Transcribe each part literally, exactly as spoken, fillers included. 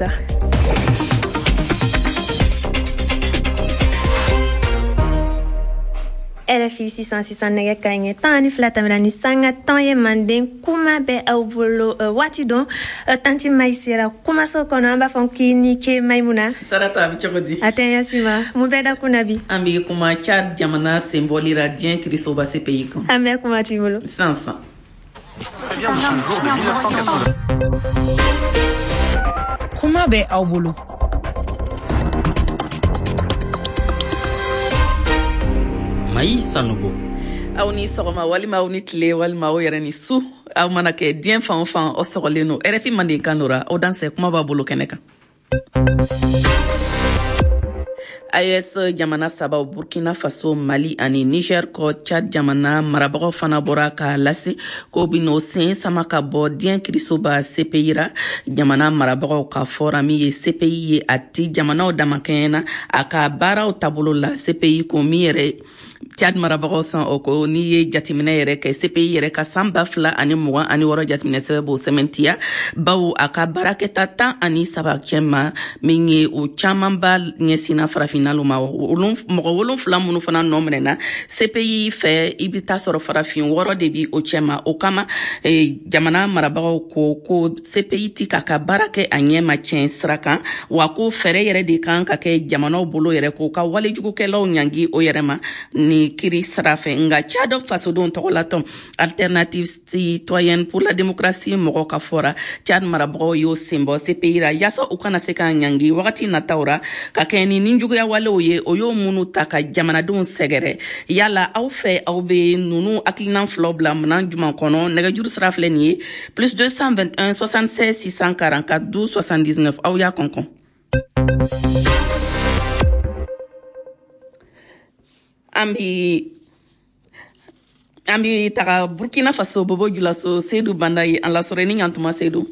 R F I. Sisan sisan, nɛgɛ ka ɲɛ tan ni fila tɛmɛna ni sanga tan ye. Manden kuma bɛ aw bolo waati dɔn. Tanti Mayi sera kumaso kɔnɔ, an b'a fɔ k'i ni ke, Mayimuna. Sarata, a bɛ cogo di? A tɛ ɲɛsi ma. Mun bɛ da kun na bi? An bɛ kuma Tchad jamana senbɔlira diɲɛ kirisoba C P I kan. An bɛ kuma t'i bolo. Sisan sisan. Bien de ce jour de mille neuf cent quatre-vingts. Kuma bɛ aw bolo. Mayi Sanogo. Aw ni sɔgɔma, walima aw ni tile, walima aw yɛrɛ ni su. Aw mana kɛ diɲɛ fan o fan, aw sɔgɔlen no R F I Mandenkan dora. Aw dansɛ, kuma b'a bolo kɛnɛ kan. A E S jamana sabaw, Burkina Faso, Mali ani Niger kɔ, Chad jamana marabagaw fana bɔra k'a lase ko bin'o sen sama ka bɔ diɲɛ kirisoba C P I ra. Jamana marabagaw ka fɔra min ye, C P I ye a ti jamanaw damakɛɲɛna a ka baaraw taabolo la. C P I ko min yɛrɛ Chad marabagaw san o ko, n'i ye jateminɛ yɛrɛ kɛ, C P I yɛrɛ ka san ba fila ani mugan ani wɔɔrɔ jateminɛ sɛbɛn b'o sɛmɛntiya, bawo a ka baarakɛta tan ani saba cɛma min ye, o camanba ɲɛsinna farafinna ma. Mɔgɔ wolonfila minnu fana nɔ minɛna C P I fɛ, i bɛ taa sɔrɔ farafin wɔɔrɔ de bi o cɛma. O kama, jamana marabagaw ko ko C P I ti k'a ka baara kɛ a ɲɛ ma tiɲɛ sira kan, wa ko fɛɛrɛ yɛrɛ de kan ka kɛ jamanaw bolo yɛrɛ k'o ka walejugukɛlaw ɲangi o yɛrɛ ma ni kiri sira fɛ. Nka Tchad fasodenw tɔgɔlatɔn Alternative citoyenne pour la démocratie mɔgɔw ka fɔra, Tchad marabagaw y'o senbɔ C P I ra yaasa u kana se ka ɲangi wagati nataw ra ka kɛ ni ninjuguya walew ye, o y'o minnu ta ka jamanadenw sɛgɛrɛ. Yala aw fɛ, aw be nunu hakilinan filaw bila minan juman kɔnɔ? Nɛgɛjuru sira filɛ nin ye: plus deux cent vingt et un soixante-seize six cent quarante-quatre douze soixante-dix-neuf. Aw y'a kɔnkɔn. An bi an bi taga Burkina Faso, Bobo Julaso. Sedu Banda ye an lasɔrɔ ni ɲantuma. Sedu.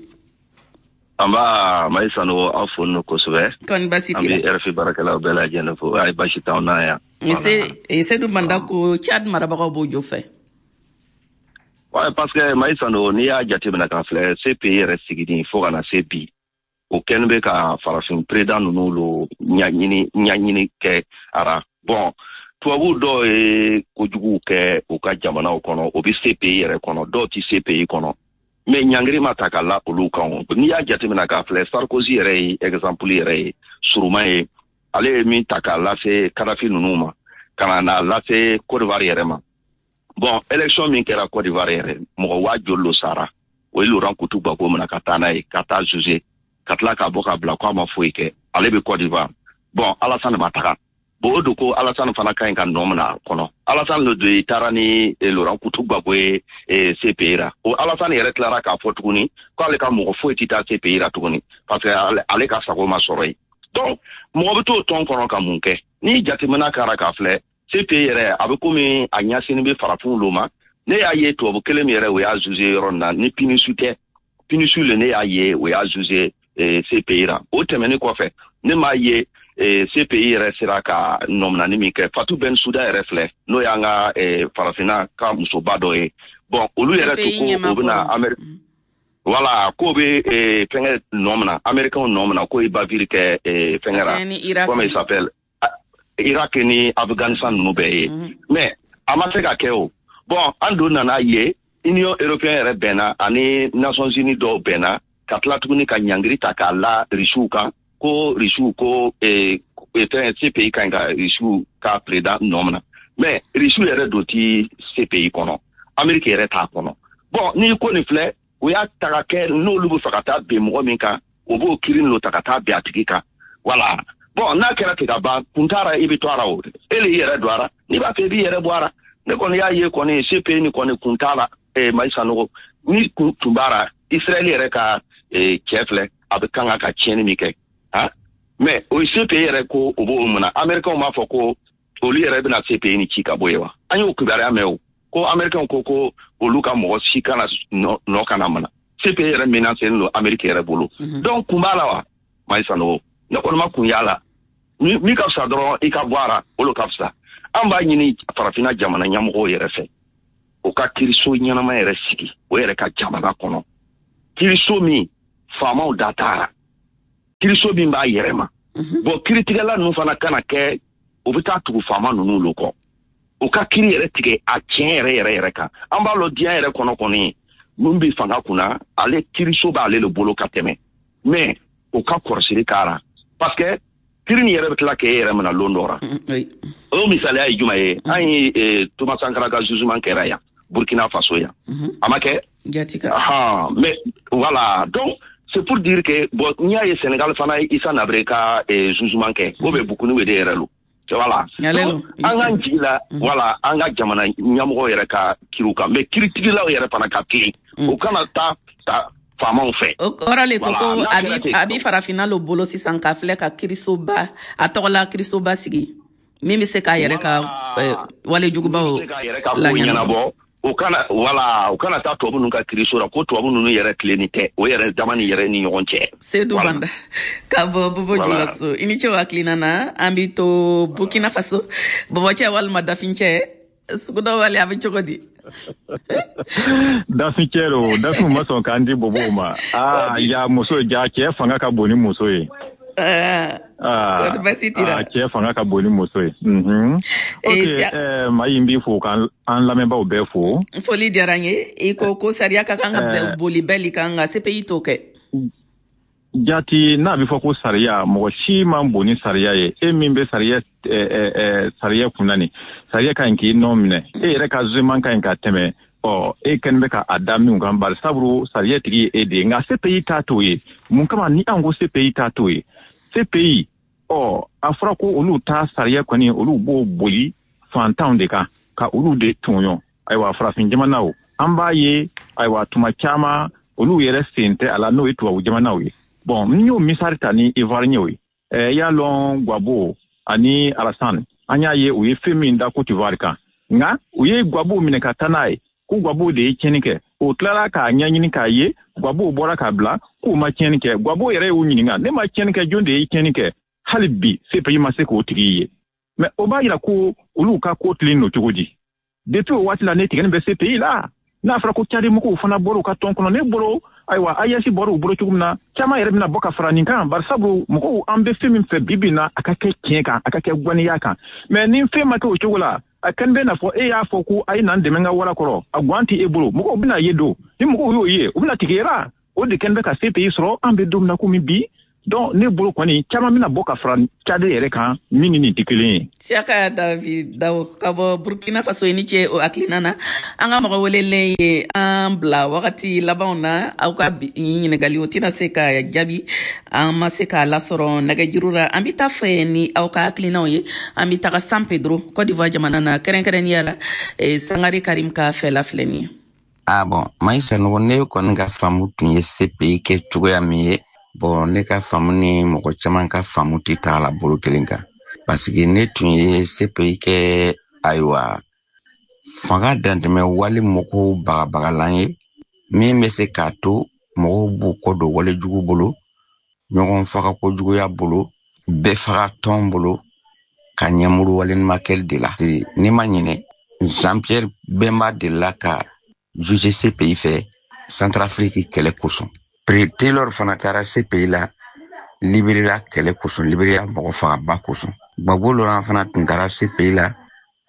An b'a, Mayi Sanogo, aw fo no kosɛbɛ. Kɔni basi An t'i bɛ R F I baarakɛlaw bɛɛ lajɛlen fo. Ayi, basi t'anw na yan. La. Sedu Banda ko Tchad marabagaw b'o jo fɛ. Ouais, parce que Mayi Sanogo, n'i y'a jateminɛ k'a filɛ, C P I yɛrɛ sigini fo ka na se bi, o kɛlen bɛ ka farafin président ninnu lo ɲaɲini ɲaɲini kɛ ara. Bon, tubabu dɔw ye kojuguw kɛ u ka jamanaw kɔnɔ, o bɛ C P I yɛrɛ kɔnɔ, dɔw ti C P I kɔnɔ, mais ɲangiri ma ta ka la olu kan. O n'i y'a jateminɛ k'a filɛ, Sarkozy yɛrɛ ye exemple yɛrɛ ye suruma ye. Ale ye min ta k'a lase Kadafi ninnu ma, ka na n'a lase Côte d'Ivoire yɛrɛ ma. Bon, élection min kɛra Côte d'Ivoire yɛrɛ, mɔgɔ waa joli lo sara? O ye Laurent Koutou Gbagbo minɛ ka taa n'a ye ka taa juger, ka tila k'a bɔ k'a bila k'a ma foyi kɛ. Ale bɛ Côte d'Ivoire. Bon, Alassane ma taga. Bon, o don ko Alassane fana ka ɲi ka nɔ minɛ a kɔnɔ. Alassane le de taara ni Laurent Koutou Gbagbo ye C P I ra. O Alassane yɛrɛ tilara k'a fɔ tuguni k'ale ka mɔgɔ foyi tɛ taa C P I ra tuguni, parce que ale, ale ka sago ma sɔrɔ yen. Donc mɔgɔ bɛ t'o tɔn kɔnɔ ka mun kɛ? Ni jateminɛ kɛra k'a filɛ, C P I yɛrɛ a bɛ komi a ɲɛsinni bɛ farafinw lo ma. Ne y'a ye tubabu kelen min yɛrɛ, o y'a juger yɔrɔ nin na ni P N U S tɛ. P N U S le, ne y'a ye o y'a juger C P I ra. O tɛmɛnen kɔfɛ, ne m'a ye C P I yɛrɛ sera ka nɔminani min kɛ. Fatou Bensouda yɛrɛ filɛ, n'o y'an ka farafinna ka musoba dɔ ye. Bon, olu yɛrɛ to ko o bɛna Amérique, voilà, k'o bɛ fɛnkɛ nɔ minɛ, américain nɔ minɛ, k'o ye bavure kɛ fɛnkɛ la, comment il s'appelle, Irak ni Afghanistan ninnu bɛɛ ye, mais a ma se ka kɛ. O bon, an don nana ye Union européenne yɛrɛ bɛnna ani Nations unies dɔw bɛnna ka tila tuguni ka ɲangiri ta k'a la Risiw kan, ko Risiw ko fɛn C P I ka ɲi ka Risiw ka président nɔ minɛ. Mais Risiw yɛrɛ don ti C P I kɔnɔ, Amérique yɛrɛ t'a kɔnɔ. Bon, n'i ko nin filɛ, o y'a ta ka kɛ n'olu bɛ fɛ ka taa bin mɔgɔ min kan, o b'o kiiri n'o ta ka taa bin a tigi kan. Voilà. Bon, n'a kɛra ten ka ban, kun t'a i bɛ to a la. O e le y'i yɛrɛ don a la, n'i b'a fɛ i b'i yɛrɛ bɔ a la. Ne kɔni y'a ye kɔni, C P I ni kɔni kun t'a la. eh, Mayi Sanogo, ni kun tun b'a la, Israël yɛrɛ ka eh, cɛ filɛ, a bɛ kan ka tiɲɛni min kɛ han, mais o ye C P I yɛrɛ ko o b'o mun na? Américains b'a fɔ ko olu yɛrɛ bɛna C P I ni ci ka bɔ yen wa? An y'o kibaruya mɛn. O ko américains ko ko olu ka mɔgɔ si kana nɔ kana mana. C P I yɛrɛ menacé don Amérique yɛrɛ bolo. Donc kun b'a la wa, Mayi Sanogo? Ne kɔni ma kun y'a la. Min ka fisa dɔrɔn, i ka bɔ a la, o de ka fisa. An b'a ɲini farafinna jamana ɲɛmɔgɔw yɛrɛ fɛ, o ka kiriso ɲɛnama yɛrɛ sigi o yɛrɛ ka jamana kɔnɔ, kiriso min faamaw da t'a la. Kiriso min b'a yɛrɛ ma. Bon, kiritigɛla ninnu fana kana kɛ u bɛ taa tugu faama ninnu lo kɔ. U ka kiri yɛrɛ tigɛ a tiɲɛ yɛrɛ yɛrɛ yɛrɛ kan. An b'a lɔn diɲɛ yɛrɛ kɔnɔ kɔni, mun bɛ fanga kunna, ale kiriso b'ale le bolo ka tɛmɛ. Mais o ka kɔrɔsiri k'a parce que kiri nin yɛrɛ bɛ tila k'e yɛrɛ minɛ lon dɔ la. O misaliya ye jumɛn ye? An ye Thomas Sankara ka jugement kɛra yan, Burkina Faso yan. A ma kɛ? Ahan, mais voilà, donc c'est pour dire que bon, n'i y'a ye Sénégal fana ye Issa Nabré ka jugement kɛ, o bɛ Bukuni de yɛrɛ lo. Voilà. Donc an k'an jigi la, voilà, an ka jamana ɲɛmɔgɔw yɛrɛ ka kiriw kan, mais kiritigilaw yɛrɛ fana ka kirin. O kana taa ta faamaw fɛ. O kɔrɔ le ko ko a bi farafinna lo bolo sisan ka filɛ ka kirisoba, a tɔgɔla kirisoba sigi min bɛ se k'a yɛrɛ ka walejugubaw laɲɛnabɔ. O kana, voilà, o kana taa tubabu ninnu ka kiriso la, ko tubabu ninnu yɛrɛ tilenni tɛ, o yɛrɛ dama ni yɛrɛ ni ɲɔgɔn cɛ. Seydou Banda ka bɔ Bobo Julaso, i ni ce o hakilina na. An bi to Burkina Faso, bɔbɔcɛ walima dafincɛ, suguda wale a bɛ cogo di? Dafincɛ lo, dafinw ma sɔn k'an di bobow ma. Aa, ja muso, ja cɛ fanga ka bon ni muso ye. Ah, cɛ fanga ka bon ni muso ye. Ok, Mayi, n b'i fo k'an lamɛnbaaw bɛɛ fo. Foli diyara n ye. I ko ko sariya ka kan ka boli bɛɛ kan, nka C P I t'o kɛ. Jati, n'a bɛ fɔ ko sariya, mɔgɔ si man bon ni sariya ye. E min bɛ sariya sariya kunna nin, sariya ka ɲi k'i nɔ minɛ. E yɛrɛ ka jugement ka ɲi ka tɛmɛ. Ɔ, e kɛlen bɛ ka a da min kan, bari sabu sariya tigi ye e de ye. Nka C P I t'a t'o ye. Mun kama ni an ko C P I t'a t'o ye? C P I, ɔ, a fɔra ko olu ta sariya kɔni, olu b'o boli fantanw de kan, ka olu de tɔɲɔ. Ayiwa, farafin jamanaw, an b'a ye, ayiwa, tuma caman olu yɛrɛ sen tɛ a la, n'o ye tubabu jamanaw ye. Bon, n y'o misali ta ni Ivoirien ye. Ɛ, y'a lɔn Gbagbo ani Alassane, an y'a ye u ye fɛn min da Côte d'Ivoire kan. Nka u ye Gbagbo minɛ ka taa n'a ye ko Gbagbo de ye tiɲɛni kɛ. O tilara k'a ɲɛɲini k'a ye Gbagbo bɔra k'a bila k'u ma tiɲɛni kɛ. Gbagbo yɛrɛ y'u ɲininka, ne ma tiɲɛni kɛ, jɔn de ye tiɲɛni kɛ? Hali bi C P I ma se k'o tigi ye. Mais o b'a yira ko olu ka ko tilen don cogo di? Depuis o waati la, ne tigɛni bɛ C P I la. N'a fɔra ko Tchad mɔgɔw fana bɔra u ka tɔn kɔnɔ, ne bolo, ayiwa, A E S bɔra u bolo cogo min na, caman yɛrɛ bɛna bɔ ka fara nin kan, bari sabu mɔgɔw an bɛ fɛn min fɛ bi bi in na, a ka kɛ tiɲɛ kan, a ka kɛ ŋaniya kan. Mais ni fɛn ma kɛ o cogo la, a kɛlen bɛ n'a fɔ e y'a fɔ ko a ye n'an dɛmɛ ka wara kɔrɔ, a guwan tɛ e bolo, mɔgɔw bɛna ye don. Ni mɔgɔw y'o ye, u bɛna tigɛ la. O de kɛlen bɛ ka C P I sɔrɔ, an bɛ don min na komi bi. Donc ne bolo kɔni, caman bɛna bɔ ka fara Tchad yɛrɛ kan, min ni nin tɛ kelen ye. Siaka David Dawo ka bɔ Burkina Faso, i ni ce o hakilina na. An ka mɔgɔ welelen ye an bila wagati labanw na, aw ka ɲininkali o tɛna se ka jaabi, an ma se k'a lasɔrɔ nɛgɛjuru la. An bɛ taa fɛ ni aw ka hakilinaw ye. An bɛ taga San Pedro, Côte d'Ivoire jamana na, kɛrɛnkɛrɛnnenya la Sangare Karim ka fɛla filɛ nin ye. Ah bon, Mayi Sanogo, ne kɔni ka faamu tun ye C P I kɛ cogoya min ye. Bon, ne ka faamu ni mɔgɔ caman ka faamu tɛ taa la bolo kelen kan, parce que ne tun ye C P I kɛ, ayiwa, fanga dantɛmɛ wale mɔgɔw bagabagalan ye min bɛ se k'a to mɔgɔw b'u kɔ don walejugu bolo, ɲɔgɔn faga kojuguya bolo, bɛɛ faga tɔn bolo, ka ɲɛmuru waleɲumankɛli de la. Ne ma ɲinɛ, Jean-Pierre Bemba delila ka juger C P I fɛ Centrafrique kɛlɛ kosɔn. Taylor fana taara C P I la Liberia kɛlɛ kosɔn, Liberia mɔgɔ fagaba kosɔn. Gbagbo Laurent fana tun taara C P I la,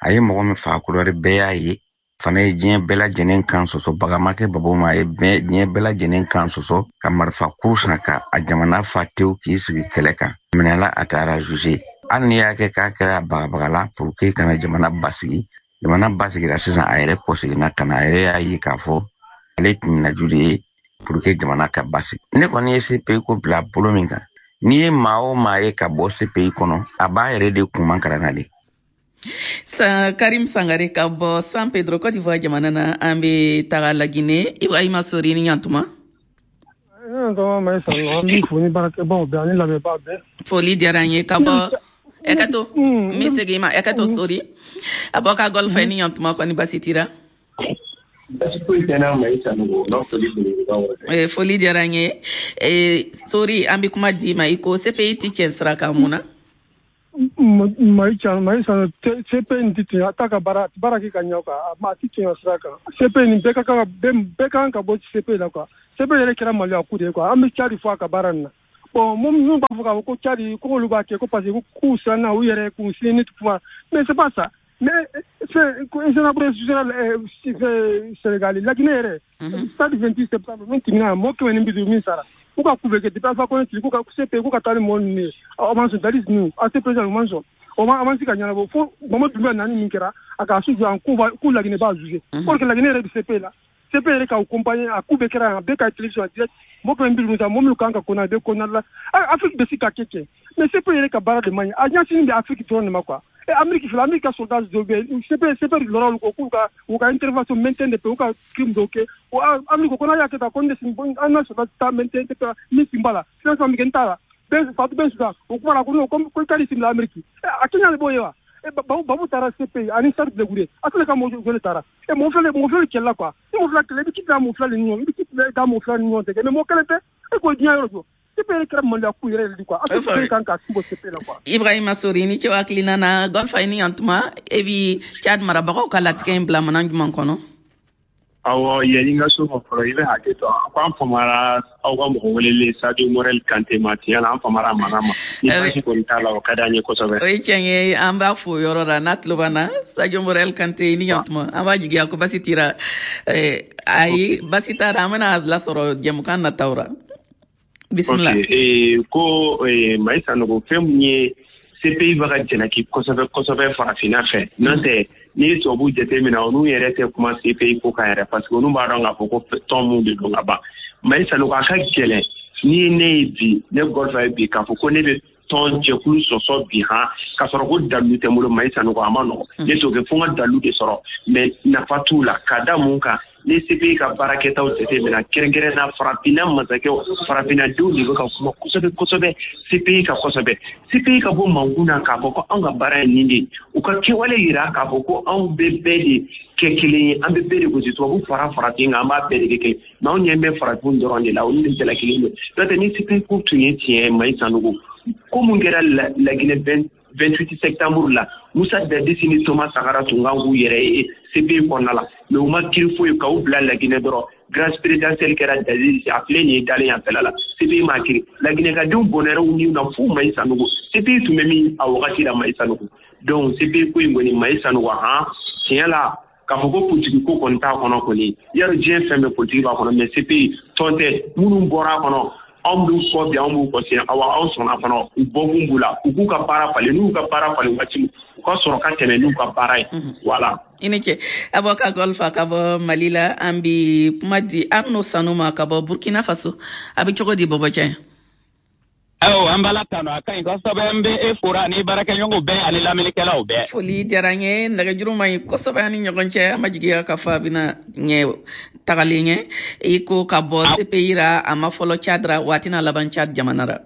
a ye mɔgɔ min faga Kodowari bɛɛ y'a ye, fana ye diɲɛ bɛɛ lajɛlen kan sɔsɔ, baga ma kɛ Gbagbo ma, a ye diɲɛ bɛɛ lajɛlen kan sɔsɔ ka marifa kuru san ka a jamana fa tewu k'i sigi kɛlɛ kan. Minɛla a taara juger. Hali n'i y'a kɛ k'a kɛra bagabagala pour que kana jamana basigi, jamana basigira sisan, a yɛrɛ kɔseginna ka na, a yɛrɛ y'a ye k'a fɔ ale tun bɛna ju de ye pour que jamana ka basigi. Ne kɔni ye C P I ko bila bolo min kan, n'i ye maa o maa ye ka bɔ C P I kɔnɔ, a b'a yɛrɛ de kun man na de. Sa Karim Sangare ka bɔ San Pedro, Côte d'Ivoire jamana na, an bɛ taga Laginɛ. Ibrahima Sori, ni ɲantuma. Foli diyara n ye ka bɔ Ekato, n bɛ segin i ma Ekato Sori. A bɔ ka golf ni ɲantuma, kɔni basi t'i la? Foli diyara n ye. Sori, an bɛ kuma d'i ma. I ko C P I ti tiɲɛ sira kan, mun na? Mayi Sanogo, C P I nin tɛ tiɲɛ, a t'a ka baara baara kɛ ka ɲɛ quoi, a ti tiɲɛ sira kan. C P I nin bɛɛ ka kan bɛɛ kan ka bɔ C P I la quoi. C P I yɛrɛ kɛra maloya ko de ye quoi. An bɛ ca de fɔ a ka baara nin na. Bon, minnu b'a fɔ k'a fɔ ko Tchad ko olu b'a kɛ ko parce que k'u siranna u yɛrɛ k'u sini kuma, mais c'est pas ça. Mais fɛn Habré Sénégal, Laginɛ yɛrɛ, stade vingt-huit septembre min tɛmɛna, mɔgɔ kɛmɛ ni bi duuru min sara, k'u ka k'u bɛ kɛ depuis Alpha Condé tile, k'u ka C P I k'u ka taa ni mɔgɔ ninnu ye, o man sɔn. Dadis ninnu, A C P président, o man sɔn, o ma avance ka ɲɛnabɔ fo Mamadu Doumbouya nani min kɛra a k'a su jɔ k'u k'u Laginɛ b'a juger. Or que Laginɛ yɛrɛ bɛ C P I la, C P I yɛrɛ k'aw accompagner, a k'u bɛɛ kɛra yan, a bɛɛ ka télévision en direct, mɔgɔ kɛmɛ ni bi duuru ta, mɔgɔ minnu kan ka condamner, a bɛ condamner la. Afrique bɛ se ka kɛ kɛ, mais C P I yɛrɛ ka baara de man ɲi, a ɲɛsinin bɛ Afrique dɔrɔn de ma quoi. Et Amérique filɛ, Amérique ka soldat dɔw bɛ yen, C P I C P I lɔra olu kɔ k'u ka u ka intervention maintien de paix, u ka crime dɔw kɛ. O Amérique ko n'a y'a kɛ tan, ko ne an ka soldat ta maintien de paix min sen b'a la, financement min kɛ n t'a la, bɛɛ Fatou Bensouda o kuma la ko non, ko i ka di simila Amérique, a Kenya de b'o ye wa. Babu Babu taara C P I ani Charles Blé Goudé, a tɛna ka mɔgɔ joli taara e mɔgɔ fila, mɔgɔ fila kɛlɛ la quoi. Ni mɔgɔ fila kɛlɛ, i bɛ ci bila mɔgɔ fila ni ɲɔgɔn, i bɛ ci bila da mɔgɔ fila ni ɲɔgɔn cɛ, mais mɔgɔ kelen tɛ e k'o diɲɛ yɔrɔ jɔ. C P I yɛrɛ kɛra maloya ko yɛrɛ de quoi. Afrique kan ka sin bɔ C P I la quoi. Ibrahima Sori ni cɛ hakilina na Gɔnfa, ni yantuma e bi Tchad marabagaw ka latigɛ in bila mana jumɛn kɔnɔ? Awɔ, yanni n ka so ma fɔlɔ, i bɛ hakɛ to a ko an famara aw ka mɔgɔ welelen Sadio Morel Kante ma. Tiɲɛ na, an famara a mankan ma ni basi kɔni t'a la, o ka d'an ye kosɛbɛ. O ye tiɲɛ ye, an b'a fo yɔrɔ la n'a tulo b'an na. Sadio Morel Kante, ni yantuma, an b'a jigiya ko basi tira. Ayi, basi t'a la, an bɛna lasɔrɔ jɛmukan nataw ra. Bisimila. Ok, ko Mayi Sanogo, fɛn mun ye C P I bɛ ka jalaki kosɛbɛ kosɛbɛ farafinna fɛ, n'o tɛ n'i ye tubabu jateminɛ, olu yɛrɛ tɛ kuma C P I ko kan yɛrɛ, parce que olu b'a dɔn k'a fɔ ko tɔn mun de don ka ban. Mayi Sanogo, a ka gɛlɛn n'i ye ne ye bi, ne Gɔlfa ye bi, k'a fɔ ko ne bɛ tɔn jɛkulu sɔsɔ bi han, k'a sɔrɔ ko dalu tɛ n bolo. Mayi Sanogo, a ma nɔgɔn, ne t'o kɛ fo n ka dalu de sɔrɔ, mais nafa t'u la. Ka da mun kan? Ni C P I ka baarakɛtaw jateminɛ, kɛrɛnkɛrɛn na farafinna masakɛw, farafinnadenw de bɛ ka kuma kosɛbɛ kosɛbɛ C P I ka kosɛbɛ. C P I ka bɔ mankun na k'a fɔ ko anw ka baara ye nin de ye, u ka kɛwale yira k'a fɔ ko anw bɛ bɛɛ de kɛ kelen ye, an bɛ bɛɛ de gosi, tubabu fara farafin kan, an b'a bɛɛ de kɛ kelen, mais anw ɲɛ bɛ farafin dɔrɔn de la, olu de jalakilen don. N'o tɛ, ni C P I ko tun ye tiɲɛ ye, Mayi Sanogo, ko mun kɛra Laginɛ vingt-huit septembre la, Musa Dadisi ni Thomas Sankara tun kan k'u yɛrɛ ye C P I kɔnɔna la, mais u ma kiiri foyi k'u bila Laginɛ dɔrɔn. Grâce présidentielle kɛra Dadisi, a filɛ nin ye dalen yan fɛla la, C P I ma kiiri. Laginɛkadenw bɔnɛra u niw na fo. Mayi Sanogo, C P I tun bɛ min a wagati la, Mayi Sanogo? Donc C P I ko in kɔni, Mayi Sanogo, han, tiɲɛ la, k'a fɔ ko politiki ko kɔni t'a kɔnɔ kɔni, yarɔ diɲɛ fɛn bɛɛ politiki b'a kɔnɔ, mais C P I tɔn tɛ. Minnu bɔra a kɔnɔ, anw b'u kɔ bi, anw b'u kɔ sini. Awa, anw sɔnna fana, u bɔkun b'u la, u k'u ka baara falen. N'u ka baara falen waati min, u ka sɔrɔ ka tɛmɛ n'u ka baara ye, voilà. I ni ce, Aboka Golfa ka bɔ Mali la. An bi kuma di Arno Sanu ma ka bɔ Burkina Faso. A bɛ cogo di, bɔbɔcɛ? Awɔ, an b'Ala tanu, a ka ɲi kosɛbɛ. N bɛ e fora ni baarakɛɲɔgɔnw bɛɛ ani lamɛnnikɛlaw bɛɛ. Foli diyara n ye. Nɛgɛjuru man ɲi kosɛbɛ an ni ɲɔgɔn cɛ, an ma jigiya k'a fɔ a bɛna ɲɛ tagalen ɲɛ. I ko ka bɔ C P I ra, a ma fɔlɔ Tchad ra, waati n'a laban Tchad jamana ra.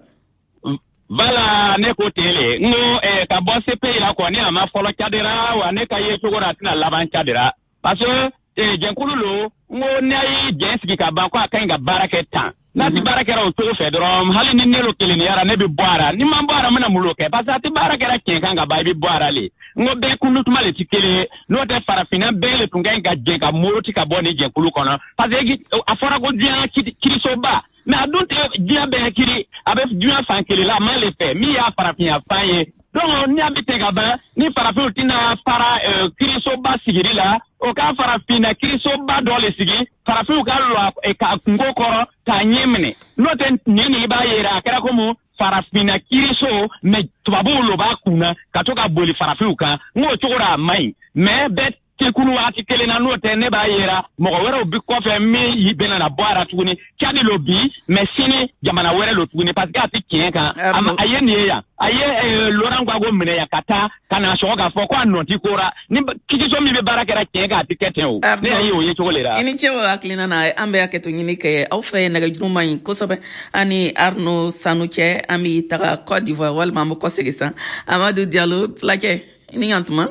Bala, ne ko ten le, n ko eh, ka bɔ C P I la kɔni, a ma fɔlɔ Tchad ra wa, ne ka ye cogo la, a tɛna laban Tchad ra, parce que eh, jɛnkulu lo. N ko n'a ye jɛn sigi ka ban ko a ka ɲi ka baara kɛ tan, n'a ti baara kɛra o cogo fɛ dɔrɔn, hali ni ne lo kelenniyara, ne bɛ bɔ a ra. Ni ma bɔ a ra, n bɛna mun lo kɛ? Parce que a ti baara kɛra tiɲɛ kan ka ban, i bɛ bɔ a ra le. N ko bɛɛ kundutuma le ti kelen ye, n'o tɛ farafinna bɛɛ le tun ka ɲi ka jɛn ka moroti ka bɔ nin jɛnkulu kɔnɔ, parce que a fɔra ko diɲɛ kirisoba, mais a dun tɛ diɲɛ bɛɛ kiri, a bɛ diɲɛ fan kelen la, a ma le fɛ min y'a farafinya fan ye. Donc ni a bɛ ten ka ban, ni farafinw tɛna fara kirisoba sigili la, o ka farafinna kirisoba dɔ le sigi, farafinw ka lɔ ka kungo kɔrɔ k'a ɲɛ minɛ. N'o tɛ nin nin i b'a yera a kɛra komi farafinna kiriso, mais tubabuw lo b'a kunna ka to ka boli farafinw kan. N k'o cogo la a man ɲi, mais bɛɛ tɛ kunu waati kelen na. N'o tɛ, ne b'a yera mɔgɔ wɛrɛw bi kɔfɛ min bɛna na bɔ a la tuguni. Cadi lo bi, mais sini jamana wɛrɛ lo tuguni, parce que a tɛ tiɲɛ kan. A ye nin ye yan, a ye Laurent Gbagbo minɛ yan ka taa ka na sɔgɔ k'a fɔ ko a nɔ ti ko ra. Ni kiriso min bɛ baara kɛra tiɲɛ kan, a tɛ kɛ ten o. Ne y'a ye o ye cogo le la. I ni ce o hakilina na. An bɛ hakɛto ɲini kɛ aw fɛ, nɛgɛjuru man ɲi kosɛbɛ ani Arno Sanu cɛ. An bɛ taga Côte d'Ivoire, walima an bɛ kɔsegin san. Amadu Diallo, fulakɛ, i ni ɲantuma.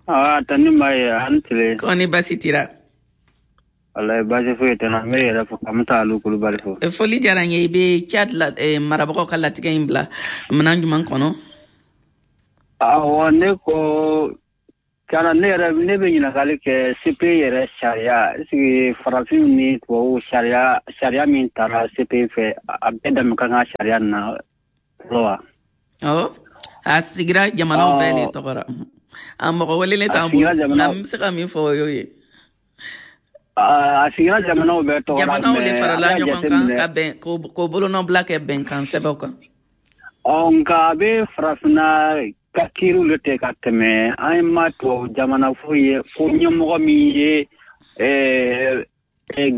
Ah, tani ma ye, an tile. Kɔni basi tira? Wallahi, basi foyi tɛ na. N bɛ yɛrɛ fo ka Musa Alu Kulubali fo. Foli diyara n ye. I bɛ Tchad la, eh, marabagaw ka latigɛ in bila minɛn jumɛn kɔnɔ? Awɔ, ne ko Kana ne yɛrɛ ne bɛ ɲininkali kɛ C P I yɛrɛ sariya, est ce que farafinw ni tubabuw sariya sariya min taara C P I fɛ, a bɛɛ dama ka kan sariya nin na fɔlɔ wa? Awɔ, a sigira jamanaw bɛɛ de tɔgɔ la. A mɔgɔ welelen t'an bolo, nka n bɛ se ka min fɔ o y'o ye. A sigira jamanaw bɛɛ tɔgɔ la. Jamanaw de farala ɲɔgɔn kan ka bɛn k'o bolonɔbila kɛ bɛnkan sɛbɛnw kan. Ɔ nka a bɛ farafinna ka kiiriw le tɛ ka tɛmɛ, an ma tubabu jamana foyi ye ko ɲɛmɔgɔ min ye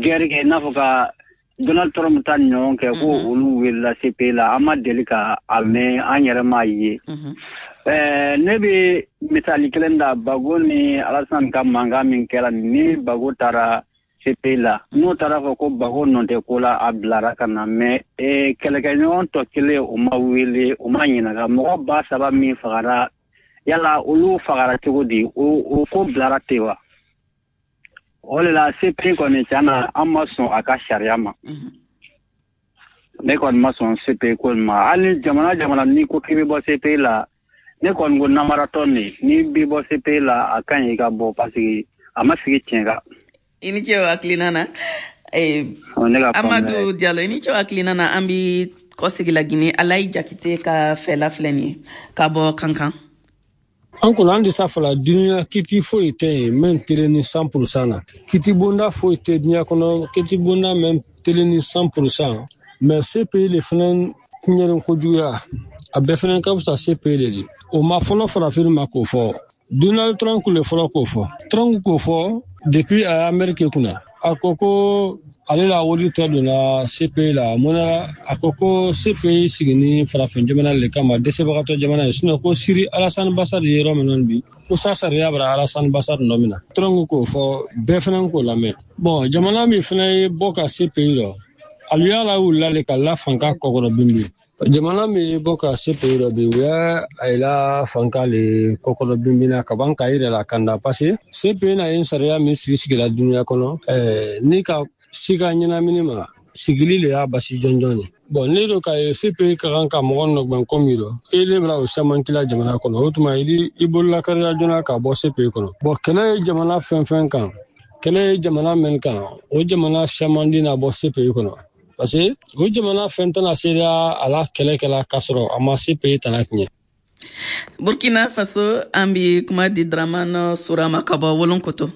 guerre kɛ, i n'a fɔ ka Donald Trump ta ni ɲɔgɔn kɛ, ko olu welela C P I la, an ma deli ka a mɛn, an yɛrɛ m'a ye. Ne bɛ misali kelen da Bago ni Alassane ka mankan min kɛra, ni Bago taara C P I la, n'o taara fɔ ko Bago nɔ tɛ ko la, a bilara ka na, mais kɛlɛkɛɲɔgɔn tɔ kelen o ma wele, o ma ɲininka. Mɔgɔ ba saba min fagara, yala olu fagara cogo di? O ko bilara ten wa? O de la C P I kɔni tiɲɛ na, an ma sɔn a ka sariya ma. Ne kɔni ma sɔn C P I ko ma. Hali ni jamana jamana n'i ko k'i bɛ bɔ C P I la, ne kɔni ko namaratɔ nin, n'i bɛ bɔ C P I la, a ka ɲi i ka bɔ, parce que a ma sigi tiɲɛ kan. I ni ce o hakilina na. Amadu Diallo, i ni ce o hakilina na. An bi kɔsegi la Guinée, Alayi Jakite ka fɛla filɛ nin ye ka bɔ Kankan. An kɔni an tɛ sa fɔlɔ, dunuya kiti foyi tɛ yen min telen ni cent pour cent na. Kiti bonda foyi tɛ dunuya kɔnɔ, kiti bonda min telen ni cent pour cent. Mais C P I le fana tiɲɛni kojuguya, a bɛɛ fana ka fisa C P I le di. O ma fɔlɔ farafin ma k'o fɔ. Donald Trump le fɔlɔ k'o fɔ. Trump k'o fɔ depuis a Amérique kunna. A ko ko ale la wari tɛ donna C P I la. Mun na a ko ko C P I sigini farafin jamana le kama, dɛsɛbagatɔ jamana ye. Sinon ko Siri Alassane Bassar ye yɔrɔ min bi, ko sa sariya bara Alassane Bassar nɔ min na. Trump k'o fɔ, bɛɛ fana k'o lamɛn. Bon, jamana min fana ye bɔ ka C P I rɔ, alu y'a lawulila le ka la fanka kɔkɔrɔ bin bi. Jamana min ye bɔ ka C P I rɔ bi, u y'a a la fanka le kɔkɔrɔ binbina ka ban k'a yɛrɛ la kanda, parce que C P I na ye sariya min sigi sigila dunuya kɔnɔ, ɛɛ ni ka si ka ɲɛnamini ma, sigili le y'a basi jɔnjɔn ye. Bon, ne do ka ye C P I ka kan ka mɔgɔ nɔgbɛn ko min rɔ, e le bɛna o caman kila jamana kɔnɔ, o tuma i bolola kariya joona ka bɔ C P I kɔnɔ. Bon, kɛlɛ ye jamana fɛn fɛn kan, kɛlɛ ye jamana min kan, o jamana caman di na bɔ C P I kɔnɔ. Parce que o jamana fɛn tɛna se a la kɛlɛ kɛla k'a sɔrɔ a ma C P I tana tiɲɛ. Burkina Faso, an bi kuma di Dramane Surama ka bɔ Wolonkoto.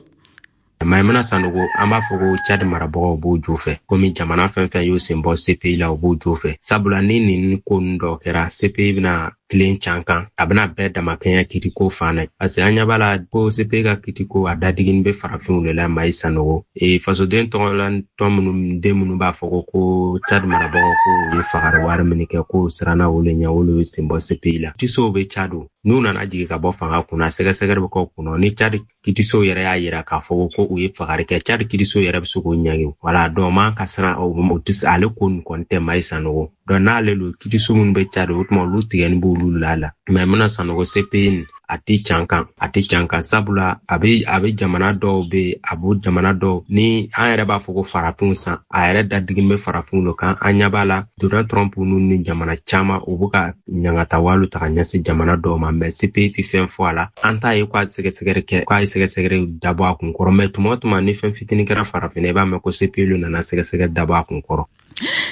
Maimuna Sanogo, an b'a fɔ ko Tchad marabagaw b'o jo fɛ, komi jamana fɛn fɛn y'o sen bɔ C P I la, o b'o jo fɛ. Sabula ni nin ko ninnu dɔ kɛra, C P I bɛna tilen can kan, a bɛna bɛɛ damakɛɲɛ kitiko fan na. Parce que an ɲɛ b'a la ko C P I ka kitiko a dadigini bɛ farafinw de la. Mayi Sanogo, e fasoden tɔgɔla tɔn minnu den minnu b'a fɔ ko ko Tchad marabagaw ko u ye fagari wari min kɛ, k'o siranna olu ɲɛ, olu ye sen bɔ C P I la. Kitisow bɛ Tchad, n'u nana jigin ka bɔ fanga kunna, sɛgɛsɛgɛli bɛ k'o kunna. Ni Tchad kitisow yɛrɛ y'a yira k'a fɔ ko u ye fagari kɛ, Tchad kitisow yɛrɛ bɛ se k'o ɲangi. Wala dɔn man ka siran o tɛ, ale ko nin kɔni tɛ Mayi Sanogo. Donc n'ale lo kitiso minnu bɛ Tchad, o tuma olu tigɛni b'olu la la. Maimuna Sanogo, C P I nin a tɛ can kan, a tɛ can kan, sabula a bɛ a bɛ jamana dɔw bɛ, a b'o jamana dɔw ni an yɛrɛ b'a fɔ ko farafinw san, a yɛrɛ dadigini bɛ farafinw de kan. An ɲɛ b'a la Donald Trump ninnu ni jamana caman, u bɛ ka ɲangatawalu ta ka ɲɛsin jamana dɔw ma, mais C P I tɛ fɛn fɔ a la. An t'a ye k'a sɛgɛsɛgɛli kɛ, k'a ye sɛgɛsɛgɛli dabɔ a kun kɔrɔ, mais tuma o tuma ni fɛn fitinin kɛra farafinna, i b'a mɛn ko C P I nana sɛgɛsɛgɛli dabɔ a kun kɔrɔ.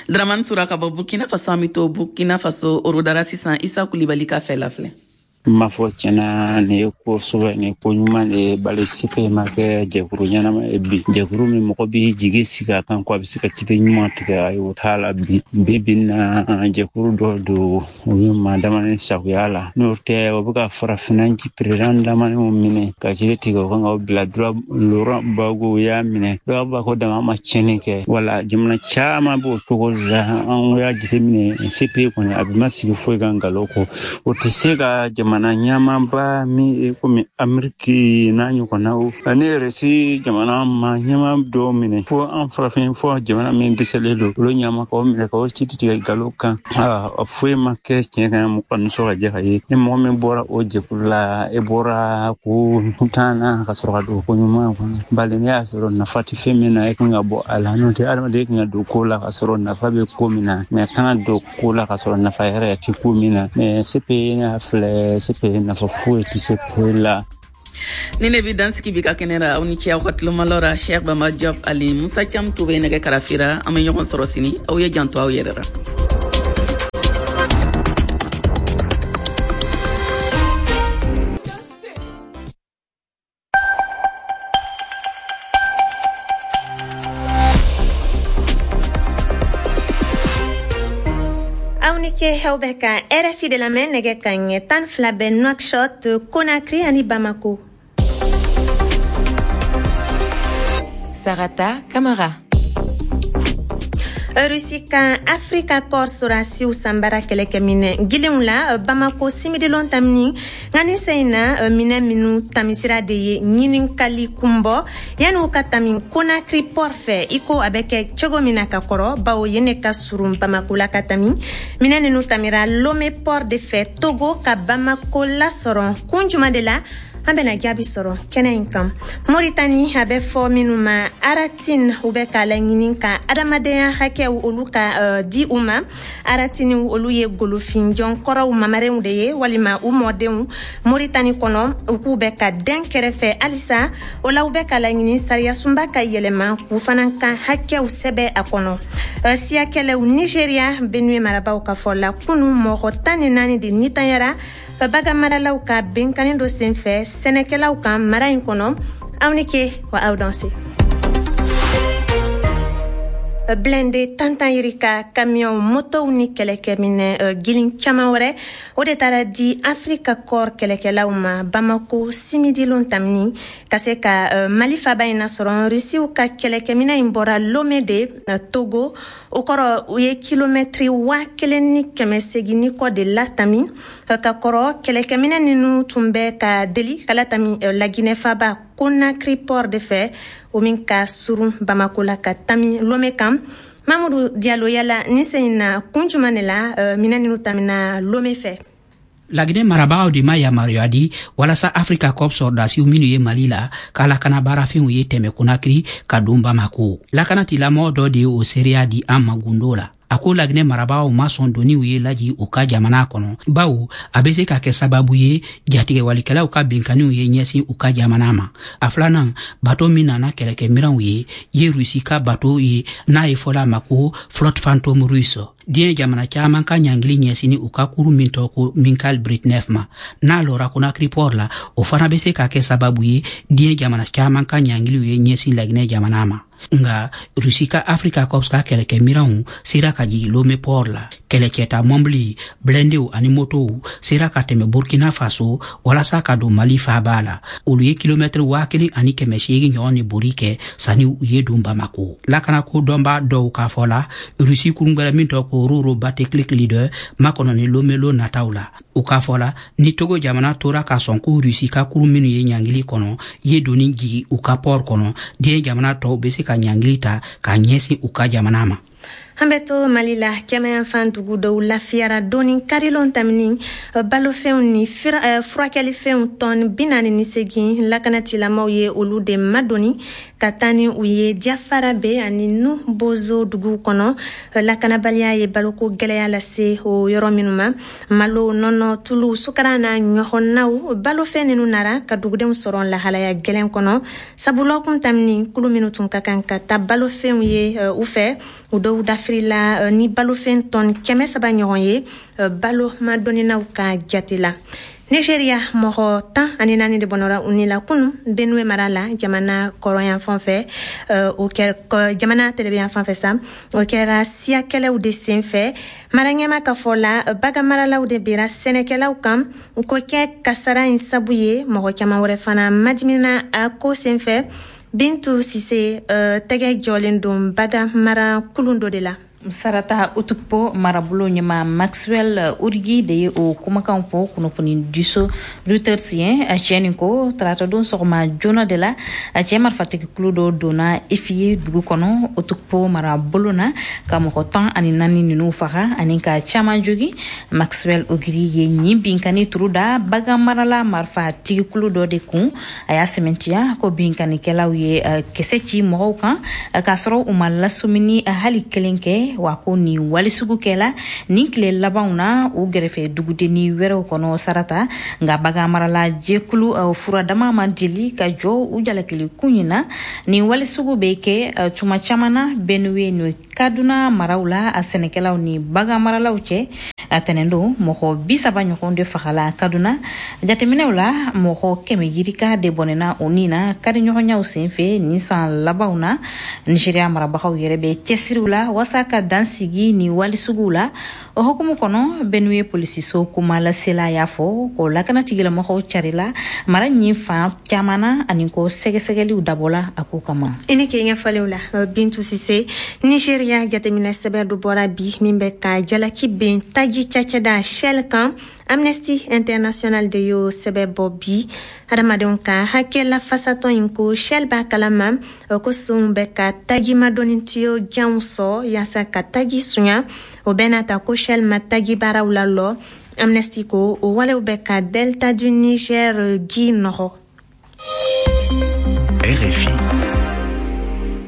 Dramane Sura ka bɔ Burkina Faso, an bɛ to Burkina Faso Orodara sisan, Isa Kulibali ka fɛ la filɛ. N b'a fɔ tiɲɛna, nin ye ko sɛbɛ, nin ye ko ɲuman de ye. Bali C P I ma kɛ jɛkuru ɲɛnama ye bi, jɛkuru min mɔgɔ b'i jigi sigi a kan ko a bɛ se ka ciden ɲuman tigɛ, ayi o t'a la bi. Bi bi in na, jɛkuru dɔ don, u ye maa damani sagoya la, n'o tɛ o bɛ ka farafinna président damaniw minɛ ka jiri tigɛ o kan ka bila. Laurent Gbagbo y'a minɛ, dɔw b'a ko dama ma tiɲɛni kɛ. Wala jamana caman b'o cogo la. An y'a jateminɛ C P I kɔni a bɛ ma sigi foyi kan nkalon kɔ, o tɛ se ka jamana ɲɛmaaba min ye komi Ameriki n'a ɲɔgɔnnaw ani Risi jamana ma ɲɛma dɔw minɛ, fo an farafin fo jamana min dɛsɛlen don olu ɲɛma k'o minɛ k'o ci tigɛ nkalon kan. A foyi ma kɛ tiɲɛ kan, mɔgɔ nisɔn ka jɛ ka ye. Ni mɔgɔ min bɔra o jɛkulu la, e bɔra ko kuntan na ka sɔrɔ ka don ko ɲuman kɔnɔ. Bali ne y'a sɔrɔ nafa tɛ fɛn min na, e kan ka bɔ a la. N'o tɛ adamaden kan ka don ko la ka sɔrɔ nafa bɛ ko min na, mɛ kan ka don ko la ka sɔrɔ nafa yɛrɛ tɛ ko min na. Mɛ C P I n'a filɛ, C P I nafa foyi tɛ C P I la. Ni ne bi dansigi bi ka kɛnɛ ra, aw ni ce aw ka tulomalɔ ra. Cheikh Bamba Diop ani Musa Cam Toure nɛgɛ karafira. An bɛ ɲɔgɔn sɔrɔ sini. Aw ye janto aw yɛrɛ ra. Aw bɛ ka R F I de lamɛn nɛgɛ ka ɲɛ tan fila bɛ Nouakchott, Conakry ani Bamako. Sarata Kamara. Russie kan Afrika Corps sorasiw sanbara kɛlɛkɛminɛ gilenw la Bamako simidilon tamini nka ni sen in na minɛ minnu tamisira de ye ɲininkali kunbɔ yanni u ka tami Conakry port fɛ i ko a bɛ kɛ cogo min na ka kɔrɔ, bawo yen ne ka surun Bamako la ka tami. Minɛ ninnu tamira Lomé port de fɛ Togo ka Bamako lasɔrɔ kun jumɛn de la, an bɛna jaabi sɔrɔ kɛnɛ in kan. Moritani a bɛ fɔ minnu ma Aratine, u bɛ k'a laɲini ka adamadenya hakɛw olu ka uh, di u ma. Aratine olu ye golofinjɔn kɔrɔw mamarenw de ye walima u mɔdenw Moritani kɔnɔ, u k'u bɛ ka den kɛrɛfɛ halisa. O la u bɛ k'a laɲini sariyasunba ka yɛlɛma k'u fana ka hakɛw sɛbɛ a kɔnɔ. Uh, siyakɛlɛw Nigeria Benue marabaw ka fɔ la kunu mɔgɔ tan ni naani de nitanyara bagan maralaw ka benkani dɔ senfɛ sɛnɛkɛlaw kan mara in kɔnɔ. Aw ni ke wa aw danse. Blindé tantan yirika camion motow ni kɛlɛkɛminɛ gilin caman wɛrɛ o de taara di Afrika Corps kɛlɛkɛlaw ma Bamako simidilon tamini ka se ka Mali faba in nasɔrɔ. Rusiw ka kɛlɛkɛminɛ in bɔra Lomé de Togo, o kɔrɔ u ye kilomɛtiri waa kelen ni kɛmɛ segin ni kɔ de latami ka kɔrɔ. Kɛlɛkɛminɛ ninnu tun bɛ ka deli ka latami Laginɛ faba Conakry port de fɛ, o min ka surun Bamako la ka tami Lomé kan. Mamadou Diallo, yala ni sen in na kun jumɛn de la minɛn ninnu tamina Lomé fɛ? Laginɛ marabagaw de ma yamaruya di walasa Afrika Corps sɔrɔdasiw minnu ye Mali la k'a lakana baarafɛnw ye tɛmɛ Conakry ka don Bamako. Lakanatilamɔgɔ dɔ de ye o seereya di an ma gundo la. A ko Laginɛ marabagaw ma sɔn doniw ye laji u ka jamana kɔnɔ, bawo a bɛ se ka kɛ sababu ye jatigɛwalikɛlaw ka binkanniw ye ɲɛsin u ka jamana ma. A filanan, bato min nana kɛlɛkɛminɛnw ye ye Rusi ka bato ye n'a ye fɔla a ma ko Flotte Fantôme russe. Diɲɛ jamana caman ka ɲangili ɲɛsinni u ka kuru min tɔgɔ ko Mikhail Britnev ma, n'a lɔra Conakry port la, o fana bɛ se ka kɛ sababu ye diɲɛ jamana caman ka ɲangiliw ye ɲɛsin Laginɛ jamana ma. Nga Rusi ka Afrika Corps ka kɛlɛkɛminɛnw sera ka jigin Lomé port la. Kɛlɛcɛta mɔbili, blindéw ani motow sera ka tɛmɛ Burkina Faso walasa ka don Mali faaba la. Olu ye kilomɛtiri waa kelen ani kɛmɛ seegin ɲɔgɔn de bori kɛ sanni u ye don Bamako. Lakanako dɔnbaa dɔw k'a fɔ la, Rusi kurun wɛrɛ min tɔgɔ ko Roro Bateklik Leader makɔnɔ ni Lomé lon nataw la. U k'a fɔ la, ni Togo jamana tora ka sɔn ko Rusi ka kurun minnu ye ɲangili kɔnɔ ye doni jigi u ka port kɔnɔ, diɲɛ jamana tɔw bɛ se ka ɲangili ta k'a ɲɛsin u ka jamana ma. An bɛ to Mali la, kɛnɛyanfan dugu dɔw lafiyara dɔɔni karilon tamini balofɛnw ni furakɛlifɛnw tɔn bi naani ni segin lakanatilamaw ye olu de madonni ka taa ni u ye Diafarabe ani Nu Bozo dugu kɔnɔ. Lakanabaliya ye baloko gɛlɛya lase o yɔrɔ minnu ma, malo, nɔnɔ, tulu, sukara n'a ɲɔgɔnnaw balofɛn ninnu nara ka dugudenw sɔrɔ lahalaya gɛlɛn kɔnɔ. Sabula kun tamini kulu minnu tun ka kan ka taa balofɛnw ye u fɛ, u dɔw dafirila ni balofɛn tɔn kɛmɛ saba ɲɔgɔn ye balo madɔnninaw ka jate la. Nigeria mɔgɔ tan ani naani de bɔnɔra u ni la kunu Benue mara la jamana kɔrɔyan fan fɛ, o kɛra jamana tɛlɛbɛyan fan fɛ sa, o kɛra siyakɛlɛw de sen fɛ. Mara ɲɛma ka fɔ la, bagan maralaw de bira sɛnɛkɛlaw kan ko kɛ kasara in sabu ye. Mɔgɔ caman wɛrɛ fana madimina a ko sen fɛ. Bintu Sise tɛgɛ jɔlen don bagan mara kulun dɔ de la. Sarata Otukpo marabolo ɲɛma Maxwell Origi de ye o kumakan fɔ kunnafoni diso Reuters ye. A cɛ nin ko tarata don sɔgɔma joona de la, a cɛ marifatigi kulu dɔ donna Efie dugu kɔnɔ Otukpo marabolo na ka mɔgɔ tan ani naani ninnu faga ani ka caman jogi. Maxwell Ogiri ye nin binkani turu da bagan marala marifatigi kulu dɔ de kun. A y'a sɛmɛntiya ko binkanikɛlaw ye kisɛ ci mɔgɔw kan k'a sɔrɔ u ma lasumini hali kelen kɛ. kɛ, wa ko nin walesugu kɛla nin tile labanw na u gɛrɛfɛ dugudenni wɛrɛw kɔnɔ sarata. Nka baganmarala jɛkulu furadama ma deli ka jɔ u jalakili kun in na. Nin walesugu bɛ kɛ tuma caman na Benue ni Kaduna maraw la a sɛnɛkɛlaw ni baganmaralaw cɛ. A tɛnɛndon mɔgɔ bi saba ɲɔgɔn de fagala Kaduna. Jateminɛw la, mɔgɔ kɛmɛ yirika de bɔnɛna o ni na kariɲɔgɔnyaw senfɛ nin san labanw na. Nigeria marabagaw yɛrɛ bɛ cɛsiriw la walasa ka dan sigi ni walisuguw la. O hukumu kɔnɔ, Benue polisiso kumalasela y'a fɔ ko lakana tigilamɔgɔw carila mara ɲin fan caman na ani ko sɛgɛsɛgɛliw dabɔla a ko kama. I ni k'i ɲɛfɔliw la, Bintu Sise. Nigeria jateminɛ sɛbɛn dɔ bɔra bi min bɛ ka jalaki ben taji cakɛda Shell kan. Amnesty International de y'o sɛbɛn bɔ bi. Hadamadenw ka hakɛ lafasatɔn in ko Shell b'a kalama ko sonw bɛ ka taji madɔnni tiyo janw sɔn yaasa ka taji sunya. O bɛɛ n'a ta ko Shell ma taji baaraw lalɔ. Amnesty ko o walew bɛ ka Delta du Niger ji nɔgɔ. R F I.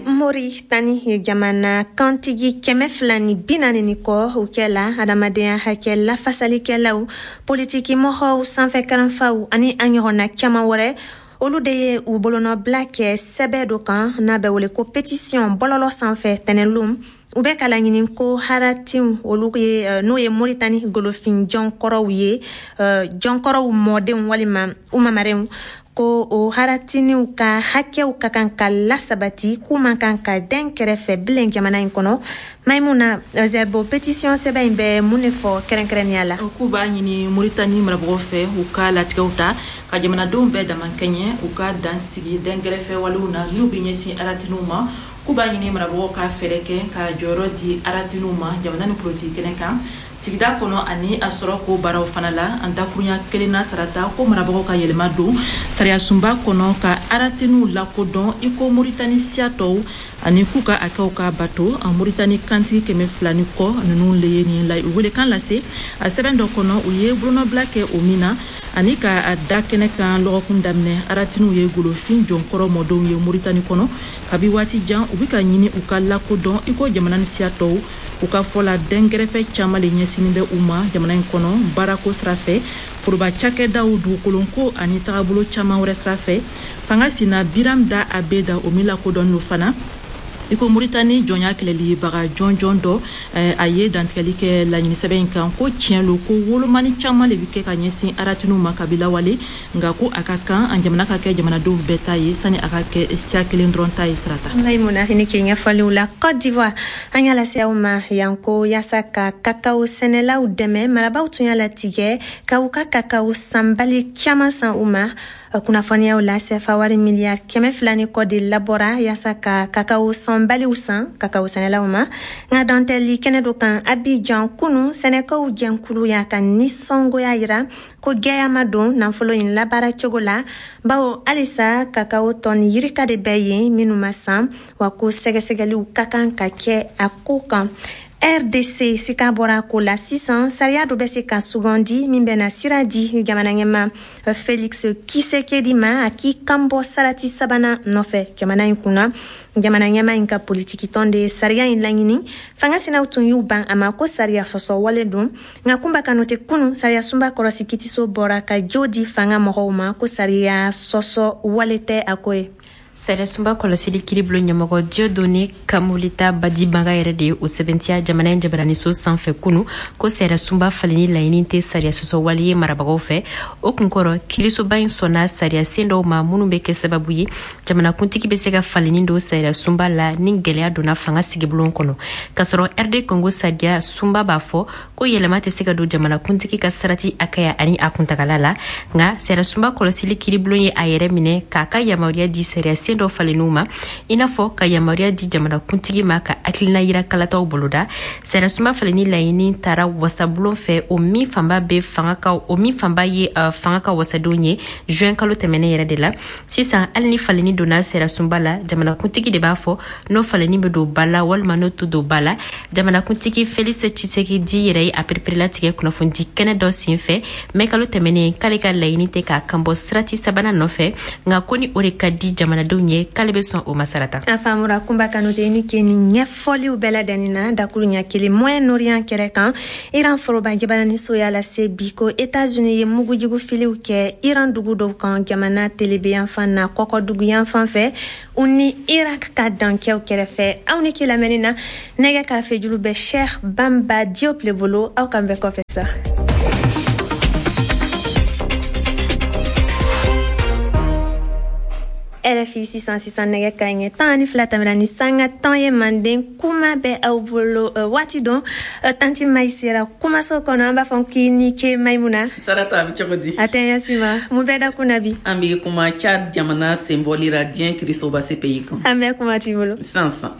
Moritani jamana kantigi kɛmɛ fila ni bi naani ni kɔ, u kɛla adamadenya hakɛ lafasalikɛlaw, politiki mɔgɔw, sanfɛ kalanfaw ani a ɲɔgɔnna caman wɛrɛ, olu de ye u bolonɔbila kɛ sɛbɛ dɔ kan n'a bɛ wele ko pétition bɔlɔlɔ sanfɛ tɛnɛlon. U bɛ ka laɲini ko haratiw, olu ye n'o ye Moritani golofin jɔnkɔrɔw ye, jɔnkɔrɔw mɔdenw walima u mamarenw, ko o haratiniw ka hakɛw ka kan ka lasabati, k'u man kan ka den kɛrɛfɛ bilen jamana in kɔnɔ. Maimuna Zerbo, pétition sɛbɛn in bɛ mun de fɔ kɛrɛnkɛrɛnnenya la? K'u b'a ɲini Moritani marabagaw fɛ, u ka latigɛw ta ka jamanadenw bɛɛ damakɛɲɛ, u ka dan sigi dɛnkɛrɛfɛ walew na n'u bɛ ɲɛsin aratiniw ma. K'u b'a ɲini marabagaw ka fɛɛrɛ kɛ ka jɔyɔrɔ di aratiniw ma jamana ni politiki kɛnɛ kan, sigida kɔnɔ ani a sɔrɔ ko baaraw fana la. An dakurunya kelen na sarata, ko marabagaw ka yɛlɛma don sariyasunba kɔnɔ ka aratiniw lakodɔn i ko Moritani siya tɔw, ani k'u ka hakɛw ka bato. Moritani kantigi kɛmɛ fila ni kɔ ninnu le ye nin la welekan lase a sɛbɛn dɔ kɔnɔ, u ye bolonɔbila kɛ o min na ani ka da kɛnɛ kan lɔgɔkun daminɛ. Aratiniw ye golofin jɔnkɔrɔ mɔdenw ye Moritani kɔnɔ kabi waati jan. U bɛ ka ɲini u ka lakodɔn i ko jamana ni siya tɔw. U ka fɔ la, dɛnkɛrɛfɛ caman le ɲɛsinnen bɛ u ma jamana in kɔnɔ, baarako sira fɛ, foroba cakɛdaw, dugukolonko ani tagabolo caman wɛrɛ sira fɛ. Fanga sina Biram Dah Abeid, o min lakodɔnnen don fana i ko Moritani jɔnya kɛlɛlibaga jɔnjɔn dɔ, a ye dantigɛli kɛ laɲini sɛbɛn in kan ko tiɲɛ lo ko wolomani caman de bɛ kɛ ka ɲɛsin aratiniw ma kabi lawale, nka ko a ka kan an jamana ka kɛ jamanadenw bɛɛ ta ye sani a ka kɛ siya kelen dɔrɔn ta ye sarata. Maimuna, i ni k'i ɲɛfɔliw la. Côte d'Ivoire, an y'a lase aw ma yan ko yaasa ka kakao sɛnɛlaw dɛmɛ, marabaw tun y'a latigɛ ka u ka kakao sanbali caman san u ma. Kunnafoniyaw la, sefa wari miliyari kɛmɛ fila ni kɔ de labɔra yaasa ka kakao sanbaliw san kakao sɛnɛlaw ma. Nka dantɛli kɛnɛ dɔ kan Abidjan kunu, sɛnɛkaw jɛnkulu y'a ka nisɔngoya yira ko gɛlɛya ma don nafolo in labaara cogo la, bawo halisa kakao tɔni yirika de bɛ yen minnu ma san, wa ko sɛgɛsɛgɛliw ka kan ka kɛ a ko kan. R D C, sika bɔra ko la sisan, sariya dɔ bɛ se ka sugandi min bɛna sira di jamana ɲɛma Felix Tshisekedi ma a k'i kanbɔ sarati sabanan nɔfɛ jamana in kunna. Jamana ɲɛma in ka politiki tɔn de ye sariya in laɲini. Fanga sinaw tun y'u ban a ma ko sariya sɔsɔ wale don. Nka Kunba Kanute, kunu sariya sunba kɔrɔsi kitiso bɔra ka jo di fanga mɔgɔw ma ko sariya sɔsɔ wale tɛ a ko ye. Sariyasunba kɔlɔsili kiiribulon ɲɛmɔgɔ Dieudonné Kamuleta Badibanga yɛrɛ de ye o sɛbɛntiya jamana in jabaraniso sanfɛ kunu ko sariyasunba falenni laɲini tɛ sariya sɔsɔ wale ye marabagaw fɛ. O kunkɔrɔ, kiirisoba in sɔnna sariya sen dɔw ma minnu bɛ kɛ sababu ye jamanakuntigi bɛ se ka falenni don sariyasunba la ni gɛlɛya donna fanga sigibulon kɔnɔ, k'a sɔrɔ R D Congo sariya sunba b'a fɔ ko yɛlɛma tɛ se ka don jamanakuntigi ka sarati hakɛya ani a kuntagala la. Nka sariyasunba kɔlɔsili kiiribulon ye a yɛrɛ minɛ k'a ka yamaruya di sariya sen dɔ falenniw ma, i n'a fɔ ka yamaruya di jamanakuntigi ma ka hakilina yira kalataw boloda. Sariyasunba falenni laɲini taara wasabulon fɛ, o min fanba bɛ fanga ka o min fanba ye uh, fanga ka wasadenw ye, juin kalo tɛmɛnen yɛrɛ de la. Sisan, hali ni falenni donna sariyasunba la, jamanakuntigi de b'a fɔ n'o falenni bɛ don ba la walima n'o tɛ don ba la. Jamanakuntigi Felix Tshisekedi yɛrɛ ye a pereperelatigɛ kunnafonidi kɛnɛ dɔ sen fɛ mɛ kalo tɛmɛnen k'ale ka laɲini tɛ k'a kanbɔ sirati sabanan nɔfɛ, nka ko ni o de ka di jamanadenw jamanadenw ye k'ale bɛ sɔn o ma sarata. A faamura Kunba Kanute ni ke ni ɲɛfɔliw bɛɛ ladɛnni na dakuruɲa kelen Moyen-Orient kɛrɛ kan. Iran foroba jabaraniso y'a lase bi ko États-Unis ye mugujugu filiw kɛ Iran dugu dɔw kan jamana telebeyanfan na kɔkɔdugu yanfan fɛ u ni Irak ka dankɛw kɛrɛfɛ. Aw ni ke lamɛnni na nɛgɛ karafejuru bɛ Cheikh Bamba Diop le bolo, aw kan bɛɛ kɔfɛ sa. R F I sisan sisan nɛgɛ ka ɲɛ tan ni fila tɛmɛna ni sanga tan ye manden kuma bɛ aw bolo waati dɔn. Tanti Mayi sera kumaso kɔnɔ, an b'a fɔ k'i ni ke Mayimuna. Sarata, a bɛ cogo di? A tɛ ɲɛ ma mun bɛ da kun na bi? An bɛ kuma Tchad jamana senbɔlira diɲɛ kirisoba C P I kan. An bɛ kuma t'i bolo. Sisan sisan.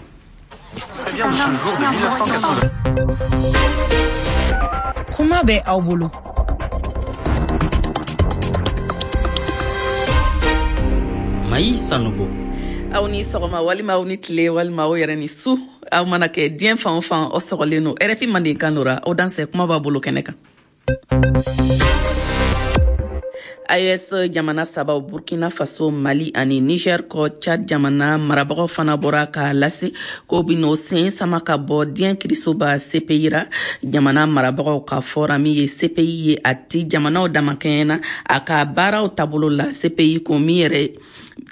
Kuma bɛ aw bolo. Mayi Sanogo. Aw ni sɔgɔma walima aw ni tile walima aw yɛrɛ ni su, aw mana kɛ diɲɛ fan o fan, aw sɔgɔlen don R F I mandenkan dɔ ra, aw dansɛ kuma b'a bolo kɛnɛ kan. A E S jamana sabaw Burkina Faso, Mali ani Niger kɔ Tchad jamana marabagaw fana bɔra k'a lase k'o bɛn'o sen sama ka bɔ diɲɛ kirisoba C P I ra. Jamana marabagaw ka fɔra min ye C P I ye a ti jamanaw damakɛɲɛ na a ka baaraw taabolo la. C P I ko min yɛrɛ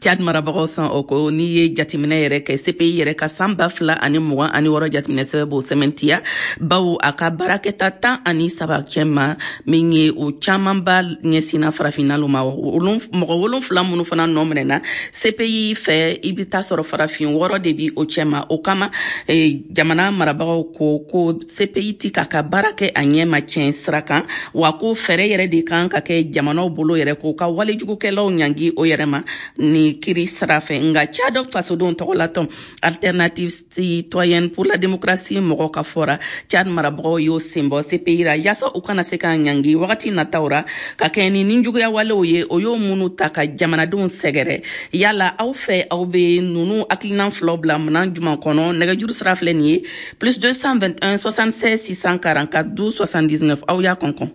Tchad marabagaw san o ko n'i ye jateminɛ yɛrɛ kɛ C P I yɛrɛ ka san ba fila ani mugan ani wɔɔrɔ jateminɛ sɛbɛn b'o sɛmɛntiya, bawo a ka baarakɛta tan ani saba cɛma min ye o camanba ɲɛsinna farafinna ma. Mɔgɔ wolonfila minnu fana nɔ minɛna C P I fɛ, i bɛ taa sɔrɔ farafin wɔɔrɔ de bi o cɛma. O kama jamana marabagaw ko ko C P I ti k'a ka baara kɛ a ɲɛ ma tiɲɛ sira kan, wa ko fɛɛrɛ yɛrɛ de kan ka kɛ jamanaw bolo yɛrɛ k'o ka walejugukɛlaw ɲangi o yɛrɛ ma ni kiri sira fɛ. Nka Tchad fasodenw tɔgɔlatɔn Alternative citoyenne pour la démocratie mɔgɔw ka fɔra Tchad marabagaw y'o senbɔ C P I ra yaasa u kana se ka ɲangi wagati nataw ra ka kɛ ni ninjuguya walew ye o y'o minnu ta ka jamanadenw sɛgɛrɛ. Yala aw fɛ aw bɛ ninnu hakilina filaw bila minan jumɛn kɔnɔ? Nɛgɛjuru sira filɛ nin ye plus deux cent vingt-et-un soixante-seize six cent quarante-quatre douze soixante-dix-neuf. Aw y'a kɔn kɔn.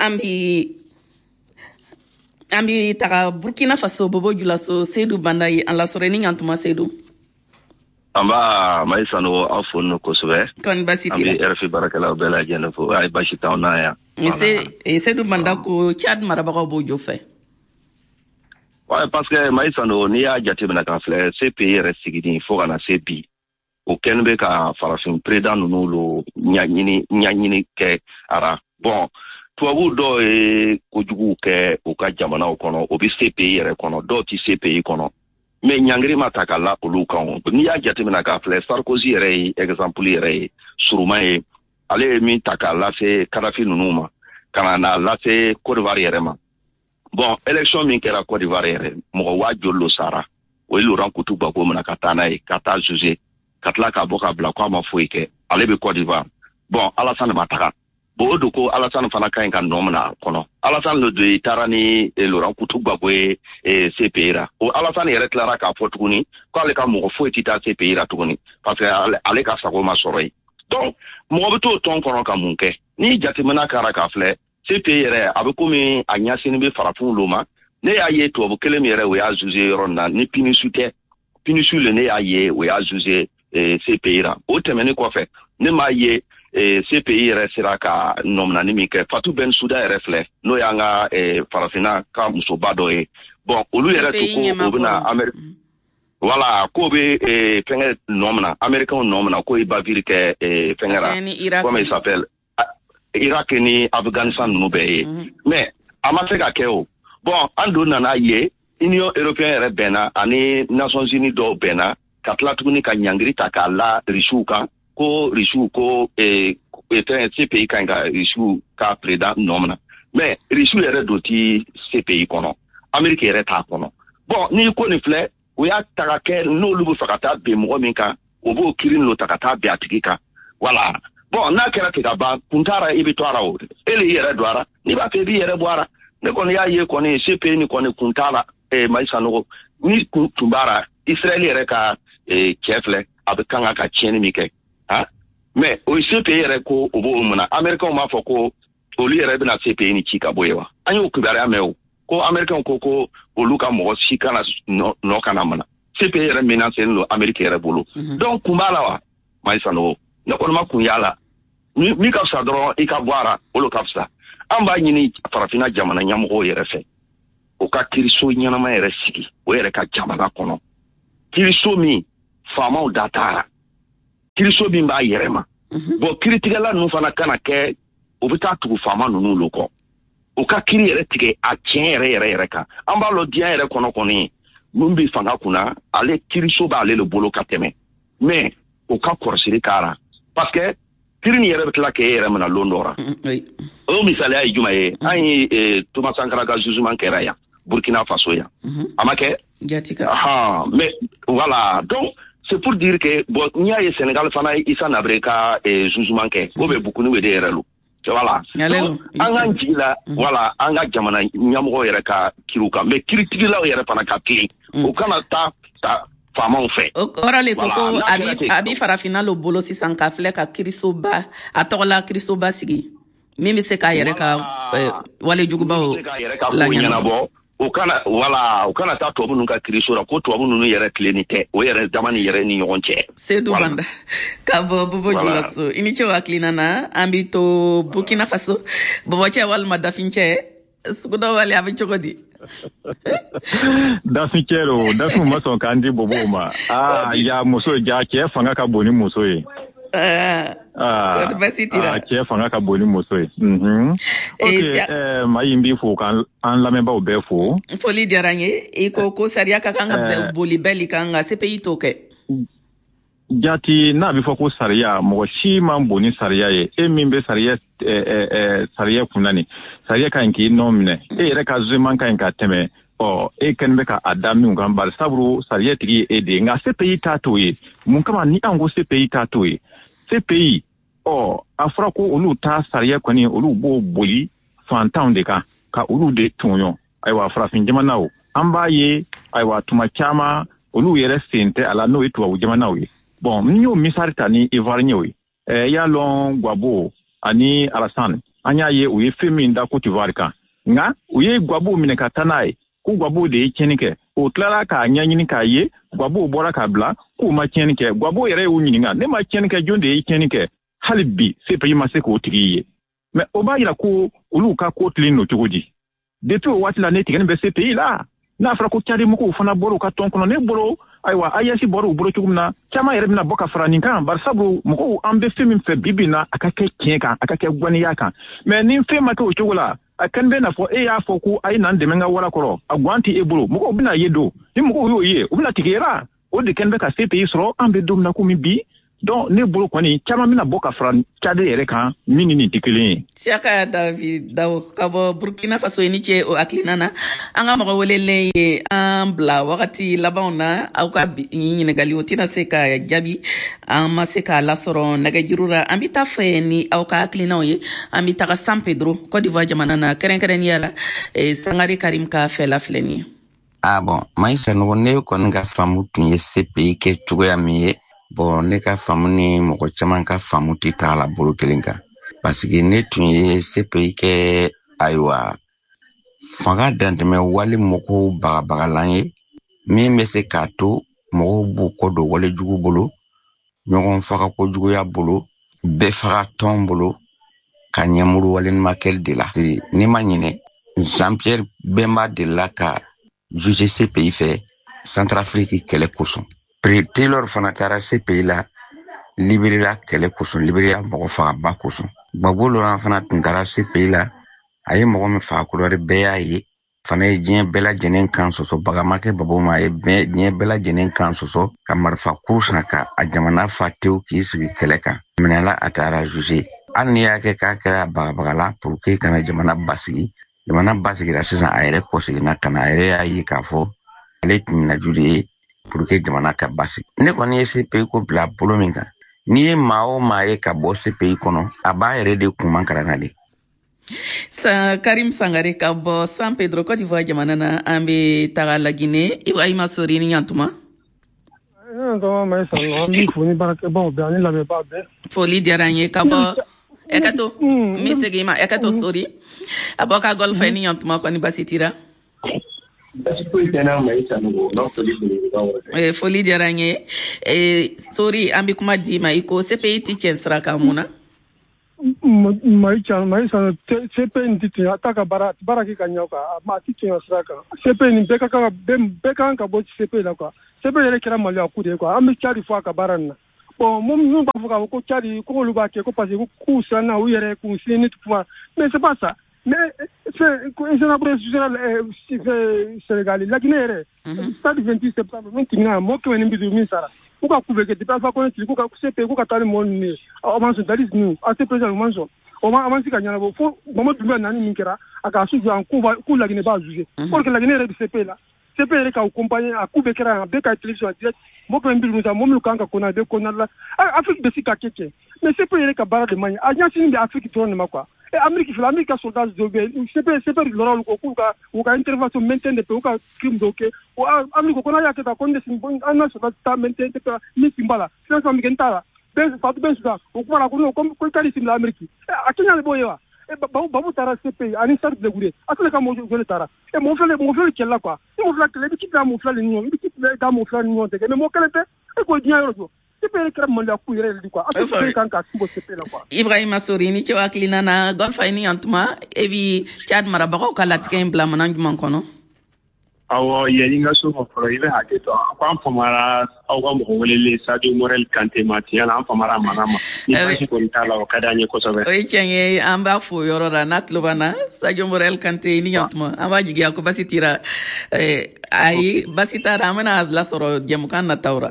An bi an bi taga Burkina Faso Bobo Julaso, Seydou Banda ye an lasɔrɔ ni ɲantuma. Seydou. An b'a Mayi Sanogo, aw fo no kosɛbɛ. Kɔni baasi t'i la? An bɛ R F I baarakɛlaw bɛɛ lajɛlen fo, ayi baasi t'anw na yan. Seydou Banda ko Tchad marabagaw b'o jɔ fɛ. Ouais, parce que Mayi Sanogo, n'i y'a jateminɛ k'a filɛ C P I yɛrɛ sigini fo ka na se bi, o kɛlen bɛ ka farafin président ninnu lo ɲaɲini ɲaɲini kɛ a ra. Bon, tubabu dɔw ye kojuguw kɛ u ka jamanaw kɔnɔ, o bɛ C P I yɛrɛ kɔnɔ, dɔw tɛ C P I kɔnɔ. Mais ɲangiri ma ta ka la olu kan. N'i y'a jateminɛ k'a filɛ, Sarkozy yɛrɛ ye exemple yɛrɛ ye suruma ye, ale ye min ta k'a lase Kadafi ninnu ma, ka na n'a lase Côte d'Ivoire yɛrɛ ma. Bon, élection min kɛra Côte d'Ivoire yɛrɛ, mɔgɔ waa joli lo sara, o ye Laurent Koutou Gbagbo minɛ ka taa n'a ye, ka taa juger, ka tila k'a bɔ k'a bila k'a ma foyi kɛ, ale bɛ Côte d'Ivoire. Bon, Alassane ma taga. Bon, o don ko Alassane fana ka ɲi ka nɔ minɛ a kɔnɔ. Alassane le don i taara ni Laurent Koutou Gbagbo ye C P I ra. O Alassane yɛrɛ tilara k'a fɔ tuguni k'ale ka mɔgɔ foyi tɛ taa C P I ra tuguni parce que ale, ale ka sago ma sɔrɔ yen. Donc mɔgɔ bɛ t'o tɔn kɔnɔ ka mun kɛ? Ni jateminɛ kɛra k'a filɛ, C P I yɛrɛ a bɛ komi a ɲɛsinni bɛ farafinw lo ma. Ne y'a ye tubabu kelen min yɛrɛ o y'a juger yɔrɔ nin na, ni Pinisu tɛ, Pinisu le ne y'a ye o y'a juger C P I ra. O tɛmɛnen kɔfɛ, ne m'a ye C P I yɛrɛ sera ka nɔminani min kɛ. Fatou Bensouda yɛrɛ filɛ, n'o y'an ka farafinna ka musoba dɔ ye. Bon, olu yɛrɛ to ko o bɛna Amérique, voilà, k'o bɛ fɛngɛ nɔ minɛ, Américains nɔ minɛ, k'o ye bavure kɛ fɛngɛ la, comment il s'appelle, Irak ni Afghanistan ninnu bɛɛ ye. Mais a ma se ka kɛ o. Bon, an don nana ye Union européenne yɛrɛ bɛnna ani Nations Unies dɔw bɛnna ka tila tuguni ka ɲangiri ta k'a la Russiw kan, ko Russiw ko eh, C P I ka ɲi ka Russiw ka président nɔ minɛ. Mais Russiw yɛrɛ don ti C P I kɔnɔ, Amérique yɛrɛ t'a kɔnɔ. Bon, n'i ko nin filɛ, o y'a ta ka kɛ n'olu bɛ fɛ ka taa bin mɔgɔ min kan, o b'o kiiri n'o ta ka taa bin a tigi kan. Voilà. Bon, n'a kɛra ten ka ban, kun t'a ra, i bɛ to a ra o. E le y'i yɛrɛ don a ra, n'i b'a fɛ i b'i yɛrɛ bɔ a ra. Ne kɔni y'a ye kɔni C P I ni kɔni kun t'a la, eh, Mayi Sanogo, ni kun tun b'a ra, Israël yɛrɛ ka eh, cɛ filɛ, a bɛ kan ka tiɲɛni min kɛ. Ah, mais o C P I yɛrɛ ko o b'o mun na, Américains b'a fɔ ko Olu yɛrɛ bɛna C P I ni ci ka bɔ yen wa? An y'o kibaruya mɛn o, ko Américain ko ko olu ka mɔgɔ si kana nɔ kana mana. C P I yɛrɛ menacé don Amérique yɛrɛ bolo. Donc kun b'a la wa, Mayi Sanogo? Ne kɔni ma kun y'a la. Min ka fisa dɔrɔn, i ka bɔ a ra, o de ka fisa. An b'a ɲini farafinna jamana ɲɛmɔgɔw yɛrɛ fɛ, o ka kiiriso ɲɛnama yɛrɛ sigi o yɛrɛ ka jamana kɔnɔ, kiiriso min faamaw da t'a ra, kiiriso min b'a yɛrɛ ma. Bon, kiiritigɛla ninnu fana kana kɛ o bɛ taa tugu faama ninnu lo kɔ. O ka kiiri yɛrɛ tigɛ a tiɲɛ yɛrɛ yɛrɛ yɛrɛ kan. An b'a lɔn, diɲɛ yɛrɛ kɔnɔ kɔni, mun bɛ fanga kunna, ale kiiriso b'ale le bolo ka tɛmɛ. Mais o ka kɔrɔsiri k'a ra, parce que kiiri nin yɛrɛ bɛ tila k'e yɛrɛ minɛ lon dɔ ra. O misaliya ye jumɛn ye? An ye Thomas Sankara ka jugement kɛra yan, Burkina Faso yan, a ma kɛ? Ahan, mais voilà. Donc c'est pour dire que bon, n'i y'a ye Sénégal fana ye Hissène Habré ka jugement kɛ, o bɛ Goukouni de yɛrɛ lo. Voilà, an k'an jigi la, voilà, an ka jamana ɲɛmɔgɔw yɛrɛ ka kiriw kan, mais kiiritigɛlaw yɛrɛ fana ka tilen, o kana taa ta faamaw fɛ. O kɔrɔ le ko ko a bi a bi farafinna lo bolo sisan ka filɛ ka kirisoba, a tɔgɔla kirisoba sigi min bɛ se k'a yɛrɛ ka walejugubaw laɲɛnabɔ. O kana, wala o kana taa tubabu ninnu ka kiriso la, ko tubabu ninnu yɛrɛ tilenni tɛ o yɛrɛ dama ni yɛrɛ ni ɲɔgɔn cɛ. Sedu Banda ka bɔ Bobo Julaso, i ni ce o hakilina na. An bi to Burkina Faso, bɔbɔcɛ walima dafincɛ suguda wale, a bɛ cogo di? Dafincɛ lo, dafinw ma sɔn k'an di bobow ma. Aa, ja muso, ja cɛ fanga ka bon ni muso ye. Aa, basi t'i la. Cɛ fanga ka bon ni muso ye. Ok, Mayi, n b'i fo k'an lamɛnbaaw bɛɛ fo. Foli diyara n ye. I ko ko sariya ka kan ka boli bɛɛ li kan, nka C P I t'o kɛ. Jati, n'a bɛ fɔ ko sariya, mɔgɔ si man bon ni sariya ye. E min bɛ sariya sariya kunna nin, sariya ka ɲi k'i nɔ minɛ. E yɛrɛ ka jugement ka ɲi ka tɛmɛ ɔ e kɛlen bɛ ka a da min kan, bari sabu sariya tigi ye e de ye. Nka C P I t'a t'o ye. Mun kama ni an ko C P I t'a t'o ye? C P I, ɔ a fɔra ko olu ta sariya kɔni, olu b'o boli fantanw de kan ka olu de tɔɲɔ. Ayiwa, farafin jamanaw, an b'a ye, ayiwa, tuma caman olu yɛrɛ sen tɛ a la, n'o ye tubabu jamanaw ye. Bon, n y'o misali ta ni Ivoirien ye. Ɛɛ y'a lɔn, Gbagbo ani Alassane, an y'a ye u ye fɛn min da Côte d'Ivoire kan, nka u ye Gbagbo minɛ ka taa n'a ye ko Gbagbo de ye tiɲɛni kɛ. O tilara k'a ɲɛɲini k'a ye Gbagbo bɔra k'a bila k'u ma tiɲɛni kɛ. Gbagbo yɛrɛ y'u ɲininka: ne ma tiɲɛni kɛ, jɔn de ye tiɲɛni kɛ? Hali bi C P I ma se k'o tigi ye. Mais o b'a yira ko olu ka ko tilen don cogo di? Depuis o waati la, ne tigɛni bɛ C P I la. N'a fɔra ko Tchad mɔgɔw fana bɔra u ka tɔn kɔnɔ, ne bolo, ayiwa, A E S bɔra u bolo cogo min na, caman yɛrɛ bɛna bɔ ka fara nin kan, bari sabu mɔgɔw, an bɛ fɛn min fɛ bi bi in na, a ka kɛ tiɲɛ kan, a ka kɛ ŋaniya kan. Mais ni fɛn ma kɛ o cogo la, a kɛni bɛ n'a fɔ e y'a fɔ ko a ye n'an dɛmɛ ka wara kɔrɔ, a guwan tɛ e bolo. Mɔgɔw bɛna ye don ni mɔgɔw y'o ye, u bɛna tigɛ la. O de kɛni bɛ ka C P I sɔrɔ an bɛ don min na komi bi. Donc ne bolo kɔni, caman bɛna bɔ ka fara Tchad yɛrɛ kan min ni nin tɛ kelen ye. Siyaka David Dawo ka bɔ Burkina Faso, i ni ce o hakilina na. An ka mɔgɔ welelen ye an bila wagati labanw na. Aw ka ɲininkali, o tɛna se ka jaabi, an ma se k'a lasɔrɔ nɛgɛjuru la. An bɛ taa fɛ ni aw ka hakilinaw ye, an bɛ taga San Pedro, Côte d'Ivoire jamana na, kɛrɛnkɛrɛnnenya la Sangare Karim ka fɛla filɛ nin ye. Ah bon, Mayi Sanogo, ne kɔni ka faamu tun ye C P I kɛ cogoya min ye, bon, ne ka faamu ni mɔgɔ caman ka faamu tɛ taa la bolo kelen kan, parce que ne tun ye C P I kɛ, ayiwa, fanga dantɛmɛ wale mɔgɔw bagabagalan ye min bɛ se k'a to mɔgɔw b'u kɔ don walejugu bolo, ɲɔgɔn faga kojuguya bolo, bɛɛ faga tɔn bolo, ka ɲɛmuru waleɲumankɛli de la. N'i ma ɲinɛ, Jean Pierre Bemba delila ka juger C P I fɛ Centrafrique kɛlɛ kosɔn. Taylor fana taara C P I la Liberia kɛlɛ kosɔn, Liberia mɔgɔ fagaba kosɔn. Gbagbo Laurent fana tun taara C P I la, a ye mɔgɔ min faga Kodowari, bɛɛ y'a ye fana ye diɲɛ bɛɛ lajɛlen kan sɔsɔ. Baga ma kɛ Gbagbo ma, a ye diɲɛ bɛɛ lajɛlen kan sɔsɔ ka marifa kuru san ka a jamana fa tewu k'i sigi kɛlɛ kan. Minɛla, a taara juger. Hali n'i y'a kɛ k'a kɛra bagabagala pour que kana jamana basigi, jamana basigira sisan, a yɛrɛ kɔseginna ka na, a yɛrɛ y'a ye k'a fɔ ale tun minaju de ye pour que jamana ka basigi. Ne kɔni ye C P I ko bila bolo min kan, n'i ye maa o maa ye ka bɔ C P I kɔnɔ, a b'a yɛrɛ de kun karanna de. Sa Karim Sangare ka bɔ San Pedro, Côte d'Ivoire jamana na, an bɛ taga Laginɛ. Ibrahima Sori, ni ɲantuma. An b'i fo ni baarakɛbaw bɛɛ ani lamɛnbaa bɛɛ. Foli diyara n ye ka bɔ Ekato mi segin ma Ekato sori aboka golfa ni yantuma koni basitira. Basi foyi tɛ n'a ma i Sanogo n'aw foli belebeleba wɛrɛ. Foli diyara n ye. Sori an bɛ kuma d'i ma i ko C P I ti tiɲɛ sira kan mun na? Mayi Mayi Sanogo C P I nin ti tiɲɛ a t'a ka baara baara kɛ ka ɲɛ quoi a ti tiɲɛ sira kan. C P I nin bɛɛ ka kan bɛɛ kan ka bɔ C P I la quoi. C P I yɛrɛ kɛra maloya ko de ye quoi an bɛ Tchad fɔ a ka baara nin na. Bon minnu b'a fɔ k'a fɔ ko Tchad ko olu b'a kɛ ko parce que k'u siranna u yɛrɛ k'u sini kuma mais c'est pas ça. Mais c'est Sénégal la Guinée yɛrɛ stade vingt-huit septembre min tɛmɛna mɔgɔ kɛmɛ ni bi duuru min sara k'u ka ku bɛ kɛ depuis Alpha Condé tile k'u ka C P k'u ka taa ni mɔgɔ ninnu ye a ma sɔn Dadis ninnu A C P u ma sɔn o ma avance ka ɲɛnabɔ fo Mamadou Doumbouya nani min kɛra a ka su jɔ k'u k'u la Guinée b'a juger or que la Guinée yɛrɛ bɛ C P la C P yɛrɛ k'aw accompagner a ku bɛ kɛra yan a bɛɛ ka télévision en direct mɔgɔ kɛmɛ ni bi duuru sa mɔgɔ minnu kan ka kɔnɔ a bɛ kɔnɔna la Afrique bɛ se ka kɛ cɛ mais C P yɛrɛ ka baara de man ɲi a ɲɛsin bɛ Afrique dɔrɔn de ma quoi. Et Amérique fila Amérique ka soldat dɔw bɛ yen C P C P lɔra olu kɔ k'u ka u ka intervention maintien de paix u ka crime dɔw kɛ o Amérique ko n'a y'a kɛ tan ko ne sin an na soldat ta maintien de paix min sin b'a la financement min kɛ n t'a la bɛɛ Fatou Bensouda o kuma la ko non ko Itali sin bila Amérique a Kenya de b'o ye wa Babu Babu taara C P ani Stade Blé a tɛna ka mɔgɔ joli taara e mɔgɔ fila mɔgɔ fila kɛlɛ la quoi ni mɔgɔ fila kɛlɛ i bɛ ci bila mɔgɔ fila ni ɲɔgɔn i bɛ ci bila da mɔgɔ fila ni ɲɔgɔn cɛ mais mɔgɔ kelen tɛ e k'o diɲɛ yɔrɔ jɔ C P kɛra maloya ko yɛrɛ de quoi a tɛ kan ka sin bɔ C P la quoi. Ibrahima Sori ni cɛ hakilina na Golfa ni yantuma e bi Tchad marabagaw ka latigɛ in bila mana jumɛn kɔnɔ? Awɔ yanni n ka so ma fɔlɔ i bɛ hakɛ to a ko an famara aw ka mɔgɔ welelen Sadio Morel Kante ma tiɲɛ na an famara a mankan ma ni baasi kɔni t'a la o ka d'an ye kosɛbɛ. O ye tiɲɛ ye an b'a fo yɔrɔ la n'a tulo b'an na Sadio Morel Kante ni yantuma an b'a jigiya ko basi tira ayi basi t'a la an bɛna lasɔrɔ jɛmukan nataw la.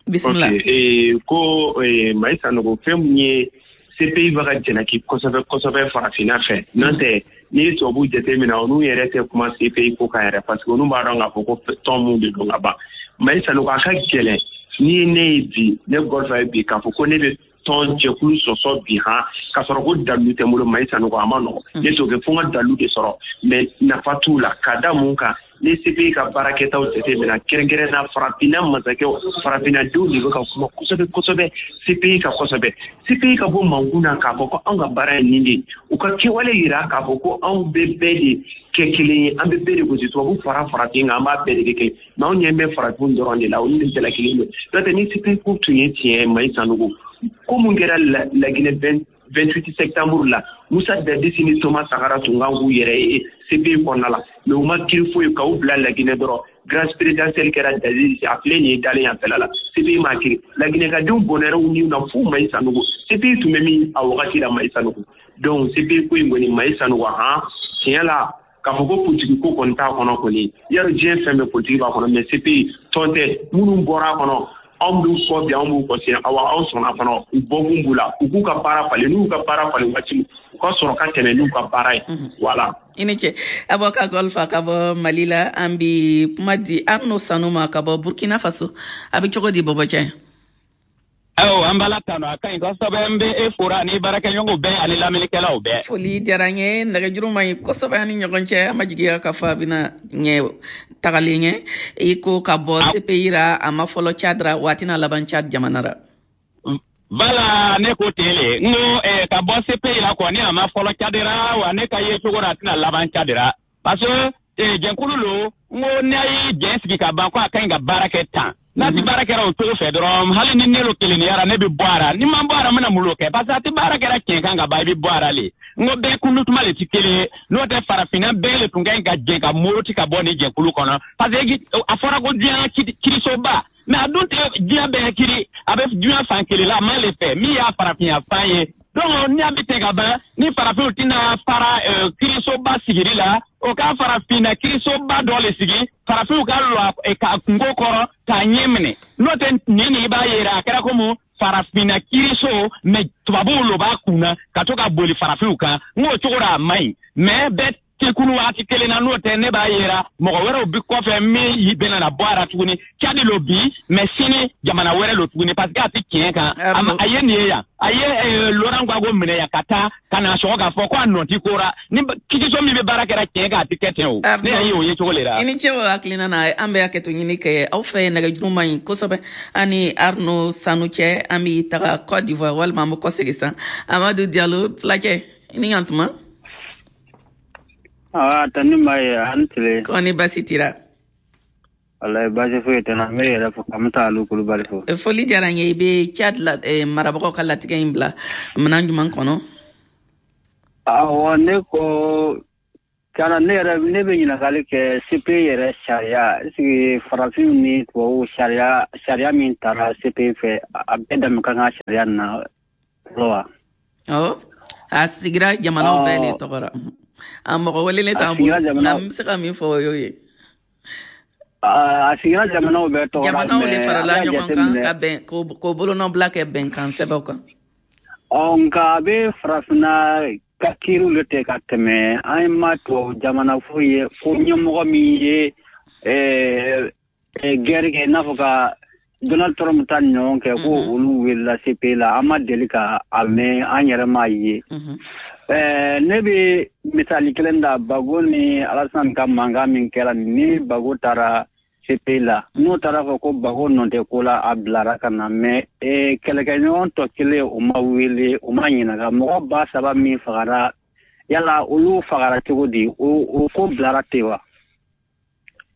Bismillah. Ok, eh, ko eh, Mayi Sanogo fɛn mun ye C P I bɛ ka jalaki kosɛbɛ kosɛbɛ farafinna fɛ n'o tɛ n'i ye tubabuw jateminɛ olu yɛrɛ tɛ kuma C P I ko kan yɛrɛ parce que olu b'a dɔn k'a fɔ ko tɔn mun de don ka ban. Mayi Sanogo a ka gɛlɛn n'i ye ne ye bi ne Golfa ye bi k'a fɔ ko ne bɛ tɔn jɛkulu sɔsɔ bi han k'a sɔrɔ ko dalu tɛ n bolo Mayi Sanogo a ma nɔgɔn ne t'o kɛ fo n ka dalu de sɔrɔ mais nafa t'u la ka da mun kan. Ni C P I ka baarakɛtaw jateminɛ kɛrɛnkɛrɛn na farafinna masakɛw farafinnadenw de bɛ ka kuma kosɛbɛ kosɛbɛ C P I ka kosɛbɛ C P I ka bɔ mankun na k'a fɔ ko anw ka baara ye nin de ye u ka kɛwale yira k'a fɔ ko anw bɛ bɛɛ de kɛ kelen ye an bɛ bɛɛ de gosi tubabu fara farafin kan an b'a bɛɛ de kɛ kelen mais anw ɲɛ bɛ farafin dɔrɔn de la olu de jalakilen don n'o tɛ ni C P I ko tun ye tiɲɛ ye Mayi Sanogo ko mun kɛra Laginɛ vingt-huit septembre la Moussa Dadis ni Thomas Sankara tun kan k'u yɛrɛ ye C P I kɔnɔna la mais u ma kiiri foyi k'u bila Laginɛ dɔrɔn grâce présidentielle kɛra Dadis a filɛ nin ye dalen yan fɛla la C P I ma kiiri Laginɛkadenw bɔnɛra u niw na fo Mayi Sanogo C P I tun bɛ min a wagati la Mayi Sanogo donc C P I ko in kɔni Mayi Sanogo han tiɲɛ la k'a fɔ ko politiki ko kɔni t'a kɔnɔ kɔni yarɔ diɲɛ fɛn bɛɛ politiki b'a kɔnɔ mais C P I tɔn tɛ minnu bɔra a kɔnɔ anw b'u kɔ bi anw b'u kɔ sini awa anw sɔnna fana u bɔkun b'u la u k'u ka baara falen n'u ka baara falen waati min u ka sɔrɔ ka tɛmɛ n'u ka baara ye voilà. I ni ce Aboka Golfa ka bɔ Mali la an bi kuma di Arnaud Sanu ma ka bɔ Burkina Faso a bɛ cogo di Bɔbɔcɛ? Awɔ an b'Ala tanu a ka ɲi kosɛbɛ n bɛ e fora ni baarakɛɲɔgɔnw bɛɛ ani lamɛnnikɛlaw bɛɛ. Foli diyara n ye nɛgɛjuru man ɲi kosɛbɛ an ni ɲɔgɔn cɛ an ma jigiya k'a fɔ a bɛna ɲɛ tagalen ɲɛ i ko ka bɔ C P I ra a ma fɔlɔ Tchad ra waati n'a laban Tchad jamana ra. Voilà ne ko ten le n ko eh, ka bɔ C P I la kɔni a ma fɔlɔ Tchad ra wa ne ka ye cogo la a tɛna laban Tchad ra parce que eh, jɛnkulu lo n ko n'a ye jɛn sigi ka ban ko a ka ɲi ka baara kɛ tan. N'a ti baara kɛra o cogo fɛ dɔrɔn hali ni ne lo kelenniyara ne bɛ bɔ a ra ni ma bɔ a ra n bɛna mun lo kɛ parce que a ti baara kɛra tiɲɛ kan ka ban i bɛ bɔ a ra le n ko bɛɛ kundutuma le ti kelen ye n'o tɛ farafinna bɛɛ le tun ka ɲi ka jɛn ka moroti ka bɔ nin jɛkulu kɔnɔ parce que a fɔra ko diɲɛ kirisoba mais a dun tɛ diɲɛ bɛɛ kiri a bɛ diɲɛ fan kelen la a ma le fɛ min y'a farafinya fan ye donc ni a bɛ ten ka ban ni farafinw tɛna fara kirisoba sigili la o ka farafinna kirisoba dɔ le sigi farafinw ka lɔ ka kungo kɔrɔ k'a ɲɛ minɛ n'o tɛ nin nin i b'a yera a kɛra komi farafinna kiriso mais tubabuw lo b'a kunna ka to ka boli farafinw kan n k'o cogo la a man ɲi mais bɛɛ ti kunu waati kelen na n'o tɛ ne b'a yera mɔgɔ wɛrɛw bi kɔfɛ min bɛna na bɔ a la tuguni. Tchad lo bi mais sini jamana wɛrɛ lo tuguni parce que a ti tiɲɛ kan. A ye nin ye yan, a ye Laurent Gbagbo minɛ yan ka taa ka na sɔgɔ k'a fɔ ko a nɔ ti ko ra ni kitiso min bɛ baara kɛra tiɲɛ kan a ti kɛ ten o. Ne y'a ye o ye cogo le la. I ni ce o hakilina na, an bɛ hakɛto ɲini kɛ aw fɛ nɛgɛjuru man ɲi kosɛbɛ. Ani Arnaud Sanu cɛ, an bɛ taga Côte d'Ivoire walima an bɛ kɔsegin san. Amadu Diallo fulakɛ, i ni yan tuma. Ah, tani ma ye an tile. Kɔni baasi t'i la? Walayi baasi foyi tɛ n na, n bɛ yɛrɛ fo ka n bɛ Alu Kulubali fo. Foli diyara n ye. I bɛ Tchad la marabagaw ka latigɛ in bila minɛn jumɛn kɔnɔ? Awɔ, ne ko tiɲɛna ne yɛrɛ ne bɛ ɲininkali kɛ C P I yɛrɛ sariya, est ce que farafinw ni tubabuw sariya sariya min taara C P I fɛ, a bɛɛ dama ka kan sariya nin na fɔlɔ wa? Awɔ, a sigira jamanaw bɛɛ de tɔgɔ la. A mɔgɔ welelen t'an bolo, nka n bɛ se ka min fɔ o y'o ye. A sigira jamanaw bɛɛ tɔgɔ la. Jamanaw de farala ɲɔgɔn kan ka bɛn k'o bolonɔbila kɛ bɛnkan sɛbɛnw kan. Ɔ, nka a bɛ farafinna ka kiiriw de tɛ ka tɛmɛ. An ma tubabu jamana foyi ye ko ɲɛmɔgɔ min ye guerre kɛ, i n'a fɔ ka Donald Trump ta ni ɲɔgɔn kɛ, ko olu welela C P I la. An ma deli ka a mɛn, an yɛrɛ m'a ye. Ne bɛ misali kelen da Gbagbo ni Alassane ka mankan min kɛra ni Gbagbo taara C P I la, n'o taara fɔ ko Gbagbo nɔ tɛ ko la, a bilara ka na, mais kɛlɛkɛɲɔgɔn tɔ kelen o ma wele, o ma ɲininka. Mɔgɔ ba saba min fagara, yala olu fagara cogo di? O ko bilara ten wa?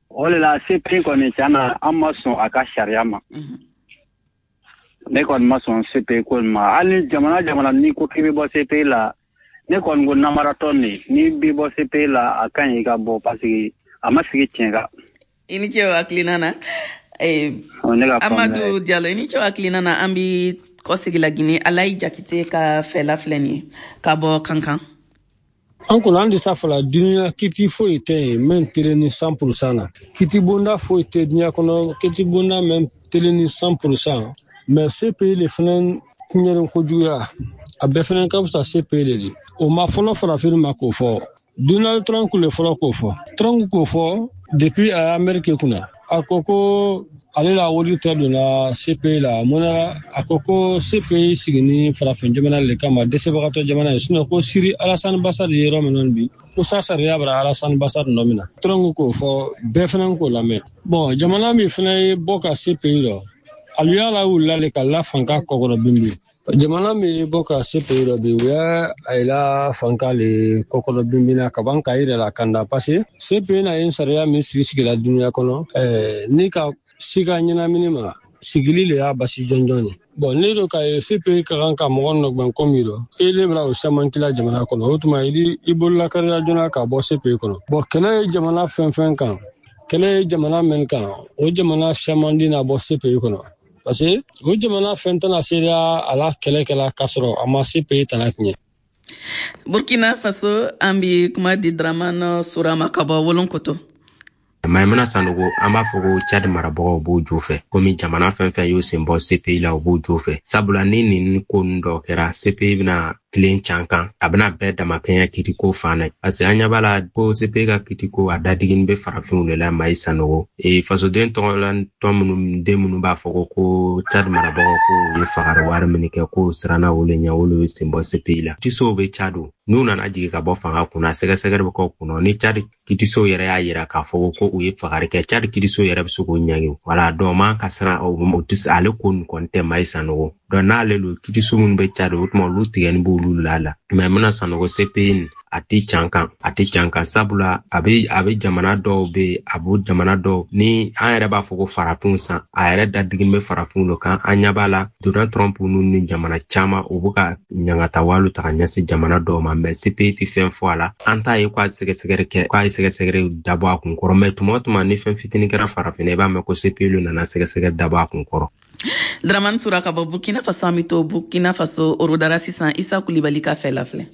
O de la C P I kɔni, tiɲɛ na, an ma sɔn a ka sariya ma. Ne kɔni ma sɔn C P I ko in ma. Hali jamana jamana n'i ko k'i bɛ bɔ C P I la, ne kɔni ko namaratɔ nin, n'i bɛ bɔ C P I la, a ka ɲi i ka bɔ parce que a ma sigi tiɲɛ kan. I ni ce o hakilina na. Amadu Diallo, i ni ce o hakilina na. An bi kɔsegi la Guinée. Alayi Jakite ka fɛla filɛ nin ye ka bɔ Kankan. An kɔni an tɛ sa fɔla duniya kiti foyi tɛ yen min telen ni cent pour cent na. Kiti bonda foyi tɛ diɲɛ kɔnɔ, kiti bonda min telen ni cent pour cent. Mais C P I le fana tiɲɛni kojuguya a bɛɛ fana ka fisa C P I le di. O ma fɔlɔ farafin ma k'o fɔ, Donald Trump le fɔlɔ k'o fɔ. Trump k'o fɔ depuis a ye Amérique kunna, a ko ko ale la wari tɛ donna C P I la. Mun na? A ko ko C P I sigini farafin jamana le kama, dɛsɛbagatɔ jamana ye. Sinon ko Siri Alassane Bassar ye yɔrɔ min bi, ko sa sariya bara Alassane Bassar nɔ min na. Trump k'o fɔ, bɛɛ fana k'o lamɛn. Bon, jamana min fana ye bɔ ka C P I rɔ, alu y'a la wulila le ka la fanka kɔkɔrɔ bin. Jamana min ye bɔ ka C P I rɔ bi, u y'a a la fanka le kɔkɔrɔ binbina ka ban k'a yɛrɛ la kanda, parce que C P I na ye sariya min sigi sigila duniya kɔnɔ, ɛɛ ni ka si ka ɲɛnamini ma sigili le y'a basi jɔnjɔn ye. Bon, ne do ka ye C P I ka kan ka mɔgɔ nɔgbɛn komi rɔ e le bɛna o caman kila jamana kɔnɔ. O tuma i bolola kariya joona ka bɔ C P I kɔnɔ. Bon, kɛlɛ ye jamana fɛn fɛn kan, kɛlɛ ye jamana min kan, o jamana caman di na bɔ C P I kɔnɔ, parce que o jamana fɛn tɛna se a la kɛlɛ kɛla k'a sɔrɔ a ma C P I tana tiɲɛ. Burkina Faso, an bi kuma di Dramane Surama ka bɔ Wolonkoto. Maimuna Sanogo, an b'a fɔ ko Chad marabagaw b'o jo fɛ, komi jamana fɛn fɛn y'o sen bɔ C P I la, u b'o jo fɛ, sabula ni nin ko ninnu dɔw kɛra, C P I bɛna tilen can kan, a bɛna bɛɛ damakɛɲɛ kitiko fan na, parce que an ɲɛ b'a la ko C P I ka kitiko a dadigini bɛ farafinw de la. Mayi Sanogo, e fasoden tɔgɔla tɔn minnu den minnu b'a fɔ ko ko Chad marabagaw ko u ye fagari wari min kɛ, k'o siranna olu ɲɛ, olu ye sen bɔ C P I la. Kitisow bɛ Chad, n'u nana jigin ka bɔ fanga kunna, sɛgɛsɛgɛli bɛ kɛ kunna. Ni Chad kitisow yɛrɛ y'a yira k'a fɔ ko u ye fagari kɛ, Chad kitisow yɛrɛ bɛ se k'o ɲangi. Wala dɔn man ka siran o tɛ ale ko nin kɔni tɛ. Mayi Sanogo dɔn n'ale lo kitiso minnu bɛ Chad, o tuma olu tigɛni b'olu la la. Maimuna Sanogo, C P I nin a tɛ can kan, a tɛ can kan, sabula a bɛ a bɛ jamana dɔw bɛ a b'o jamana dɔw ni an yɛrɛ b'a fɔ ko farafinw san, a yɛrɛ dadigini bɛ farafinw de kan. An ɲɛ b'a la Donald Trump ninnu ni jamana caman, u bɛ ka ɲangata waliw ta ka ɲɛsin jamana dɔw ma, mais C P I tɛ fɛn fɔ a la. An t'a ye k'a sɛgɛsɛgɛli kɛ, k'a ye sɛgɛsɛgɛli dabɔ a kun kɔrɔ. Mais tuma o tuma ni fɛn fitinin kɛra farafinna, i b'a mɛn ko C P I nana sɛgɛsɛgɛli dabɔ a kun kɔrɔ. Dramane Sura ka bɔ Burkina Faso, an bɛ to Burkina Faso Orodara sisan. Isa Kulibali ka fɛ la filɛ.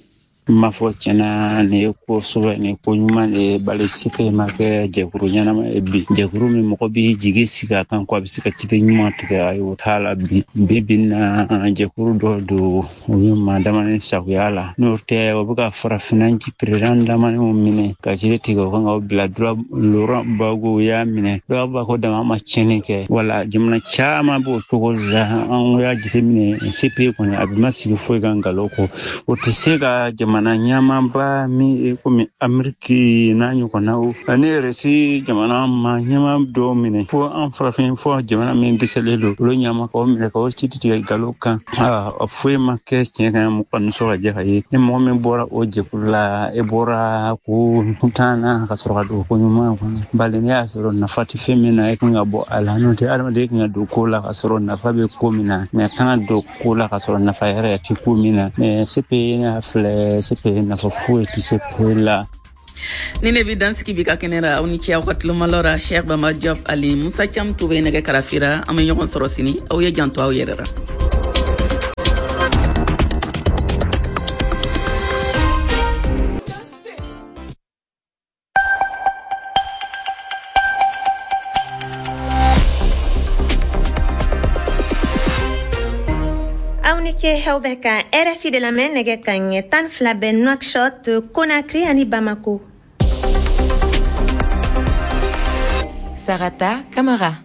N b'a fɔ tiɲɛna nin ye ko sɛbɛ, nin ko ɲuman de ye, bari C P I ma kɛ jɛkuru ɲɛnama ye bi. Jɛkuru min mɔgɔ b'i jigi sigi a kan ko a bɛ se ka ciden ɲuman tigɛ, ayi o t'a la bi. Bi bi in na jɛkuru dɔ don u ye maa damani sagoya la, n'o tɛ o bɛ ka farafinna président damaniw minɛ ka jiri tigɛ o kan ka bila. Laurent Gbagbo y'a minɛ, dɔw b'a ko dama ma tiɲɛni kɛ. Wala jamana caman b'o cogo la. An y'a jateminɛ C P I kɔni a bɛ ma sigi foyi kan nkalon kɔ. O tɛ se ka jamana ɲɛmaaba min ye komi Ameriki n'a ɲɔgɔnnaw ani Irisi jamana ma ɲɛma dɔw minɛ, fo an farafin fo jamana min dɛsɛlen don olu ɲɛma k'o minɛ k'o ci tigɛ nkalon kan. A foyi ma kɛ tiɲɛ kan, mɔgɔ nisɔn ka jɛ ka ye. Ni mɔgɔ min bɔra o jɛkulu la, e bɔra ko kuntan na ka sɔrɔ ka don ko ɲuman kɔnɔ. Bari n'i y'a sɔrɔ nafa tɛ fɛn min na, e kan ka bɔ a la. N'o tɛ adamaden kan ka don ko la ka sɔrɔ nafa bɛ ko min na, mɛ kan ka don ko la ka sɔrɔ nafa yɛrɛ tɛ ko min na. Mɛ C P I n'a filɛ, C P I nafa foyi tɛ C P I la. Ni ne bi dansigi bi ka kɛnɛ ra, aw ni ce aw ka tulomalɔ ra. Cheikh Bamba Diop ali Musa Cam Touré nɛgɛ karafira. An bɛ ɲɔgɔn sɔrɔ sini, aw ye janto aw yɛrɛ ra. Aw bɛ ka R F I de lamɛn nɛgɛ ka ɲɛ tan fila bɛ Nouakchott, Conakry ani Bamako. Sarata Kamara.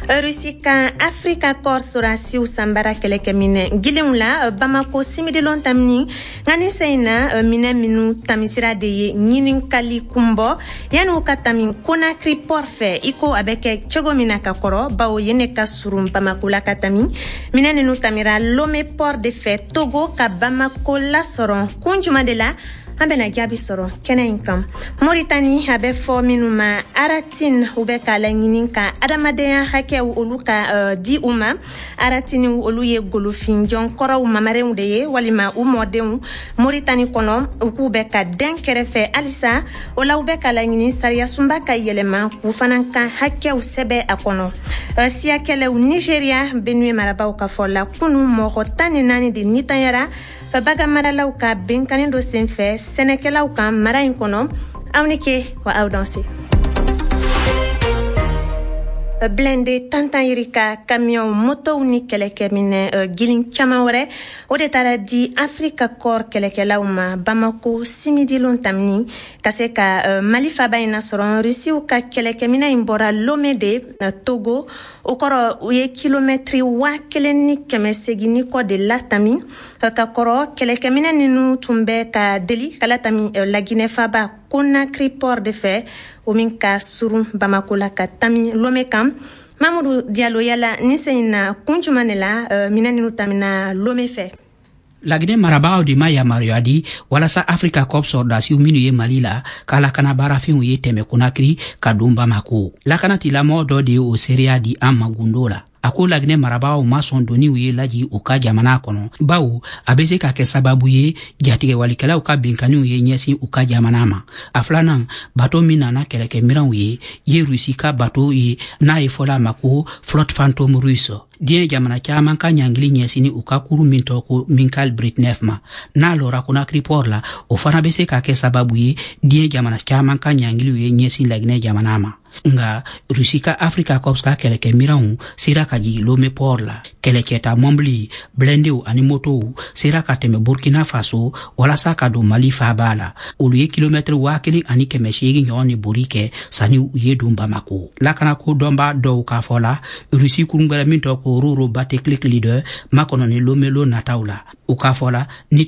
Russie kan Africa Corps sorasiw sanbara kɛlɛkɛminɛ gilinw la Bamako simidilon tamini, nka ni sen in na minɛ minnu tamisira de ye ɲininkali kunbɔ yanni u ka tami Conakry port fɛ, i ko a bɛ kɛ cogo min na ka kɔrɔ, bawo yen ne ka surun Bamako la ka tami. Minɛ ninnu tamira Lomé port de fɛ Togo ka Bamako lasɔrɔ. Kun jumɛn de la an bɛna jaabi sɔrɔ kɛnɛ in kan. Moritani a bɛ fɔ minnu ma Aratine, u bɛ k'a laɲini ka adamadenya hakɛw olu ka uh, di u ma. Aratine olu ye golofinjɔn kɔrɔw mamarenw de ye walima u mɔdenw Moritani kɔnɔ, u k'u bɛ ka den kɛrɛfɛ halisa. O la u bɛ k'a laɲini sariyasunba ka yɛlɛma k'u fana ka hakɛw sɛbɛ a kɔnɔ. Uh, siyakɛlɛw Nigeria Benue marabaw ka fɔ la kunu mɔgɔ tan ni naani de nitanyara bagan maralaw ka benkanni dɔ senfɛ sɛnɛkɛlaw kan mara in kɔnɔ. Aw ni ke wa aw danse. Blindé tantan yirika camion motow ni kɛlɛkɛminɛ gilin caman wɛrɛ o de taara di Africa Corps kɛlɛkɛlaw ma Bamako simidilon tamini ka se ka Mali faba in nasɔrɔ. Rusiw ka kɛlɛkɛminɛ in bɔra Lomé de Togo, o kɔrɔ u ye kilomɛtiri waa kelen ni kɛmɛ segin ni kɔ de latami. Ka kɔrɔ kɛlɛkɛminɛ ninnu tun bɛ ka deli ka latami Laginɛ faba Conakry port de fɛ, o min ka surun Bamako la ka tami Lomé kan. Mamadou Diallo, yala ni sen in na kun jumɛn de la minɛn ninnu tamina Lomé fɛ? Laginɛ marabagaw de ma yamaruya di walasa Africa Corps sɔrɔdasiw minnu ye Mali la k'a lakana baarafɛnw ye tɛmɛ Conakry ka don Bamako. Lakanatilamɔgɔ dɔ de ye o seereya di an ma gundo la. A ko Laginɛ marabagaw ma sɔn doniw ye laji u ka jamana kɔnɔ, bawo a bɛ se ka kɛ sababu ye jatigɛwalikɛlaw ka binkanniw ye ɲɛsin u ka jamana ma. A filanan, bato min nana kɛlɛkɛminɛnw ye ye Rusi ka bato ye n'a ye fɔla a ma ko flotte fantôme russe. Diɲɛ jamana caman ka ɲangili ɲɛsinni u ka kuru min tɔgɔ ko Mikhail Britnev ma, n'a lɔra Conakry port la, o fana bɛ se ka kɛ sababu ye diɲɛ jamana caman ka ɲangiliw ye ɲɛsin Laginɛ jamana ma. Nka Rusi ka Africa Corps ka kɛlɛkɛminɛnw sera ka jigin Lomé port la. Kɛlɛcɛta mɔbili, blindéw ani motow sera ka tɛmɛ Burkina Faso walasa ka don Mali faaba la. Olu ye kilomɛtiri waa kelen ani kɛmɛ seegin ɲɔgɔn de bori kɛ sanni u ye don Bamako. Lakanako dɔnbaa dɔw k'a fɔ la, Rusi kurun gbɛrɛ min tɔgɔ ko Roro Bateklik Leader makɔnɔni Lomé lon nataw la. U k'a fɔ la ni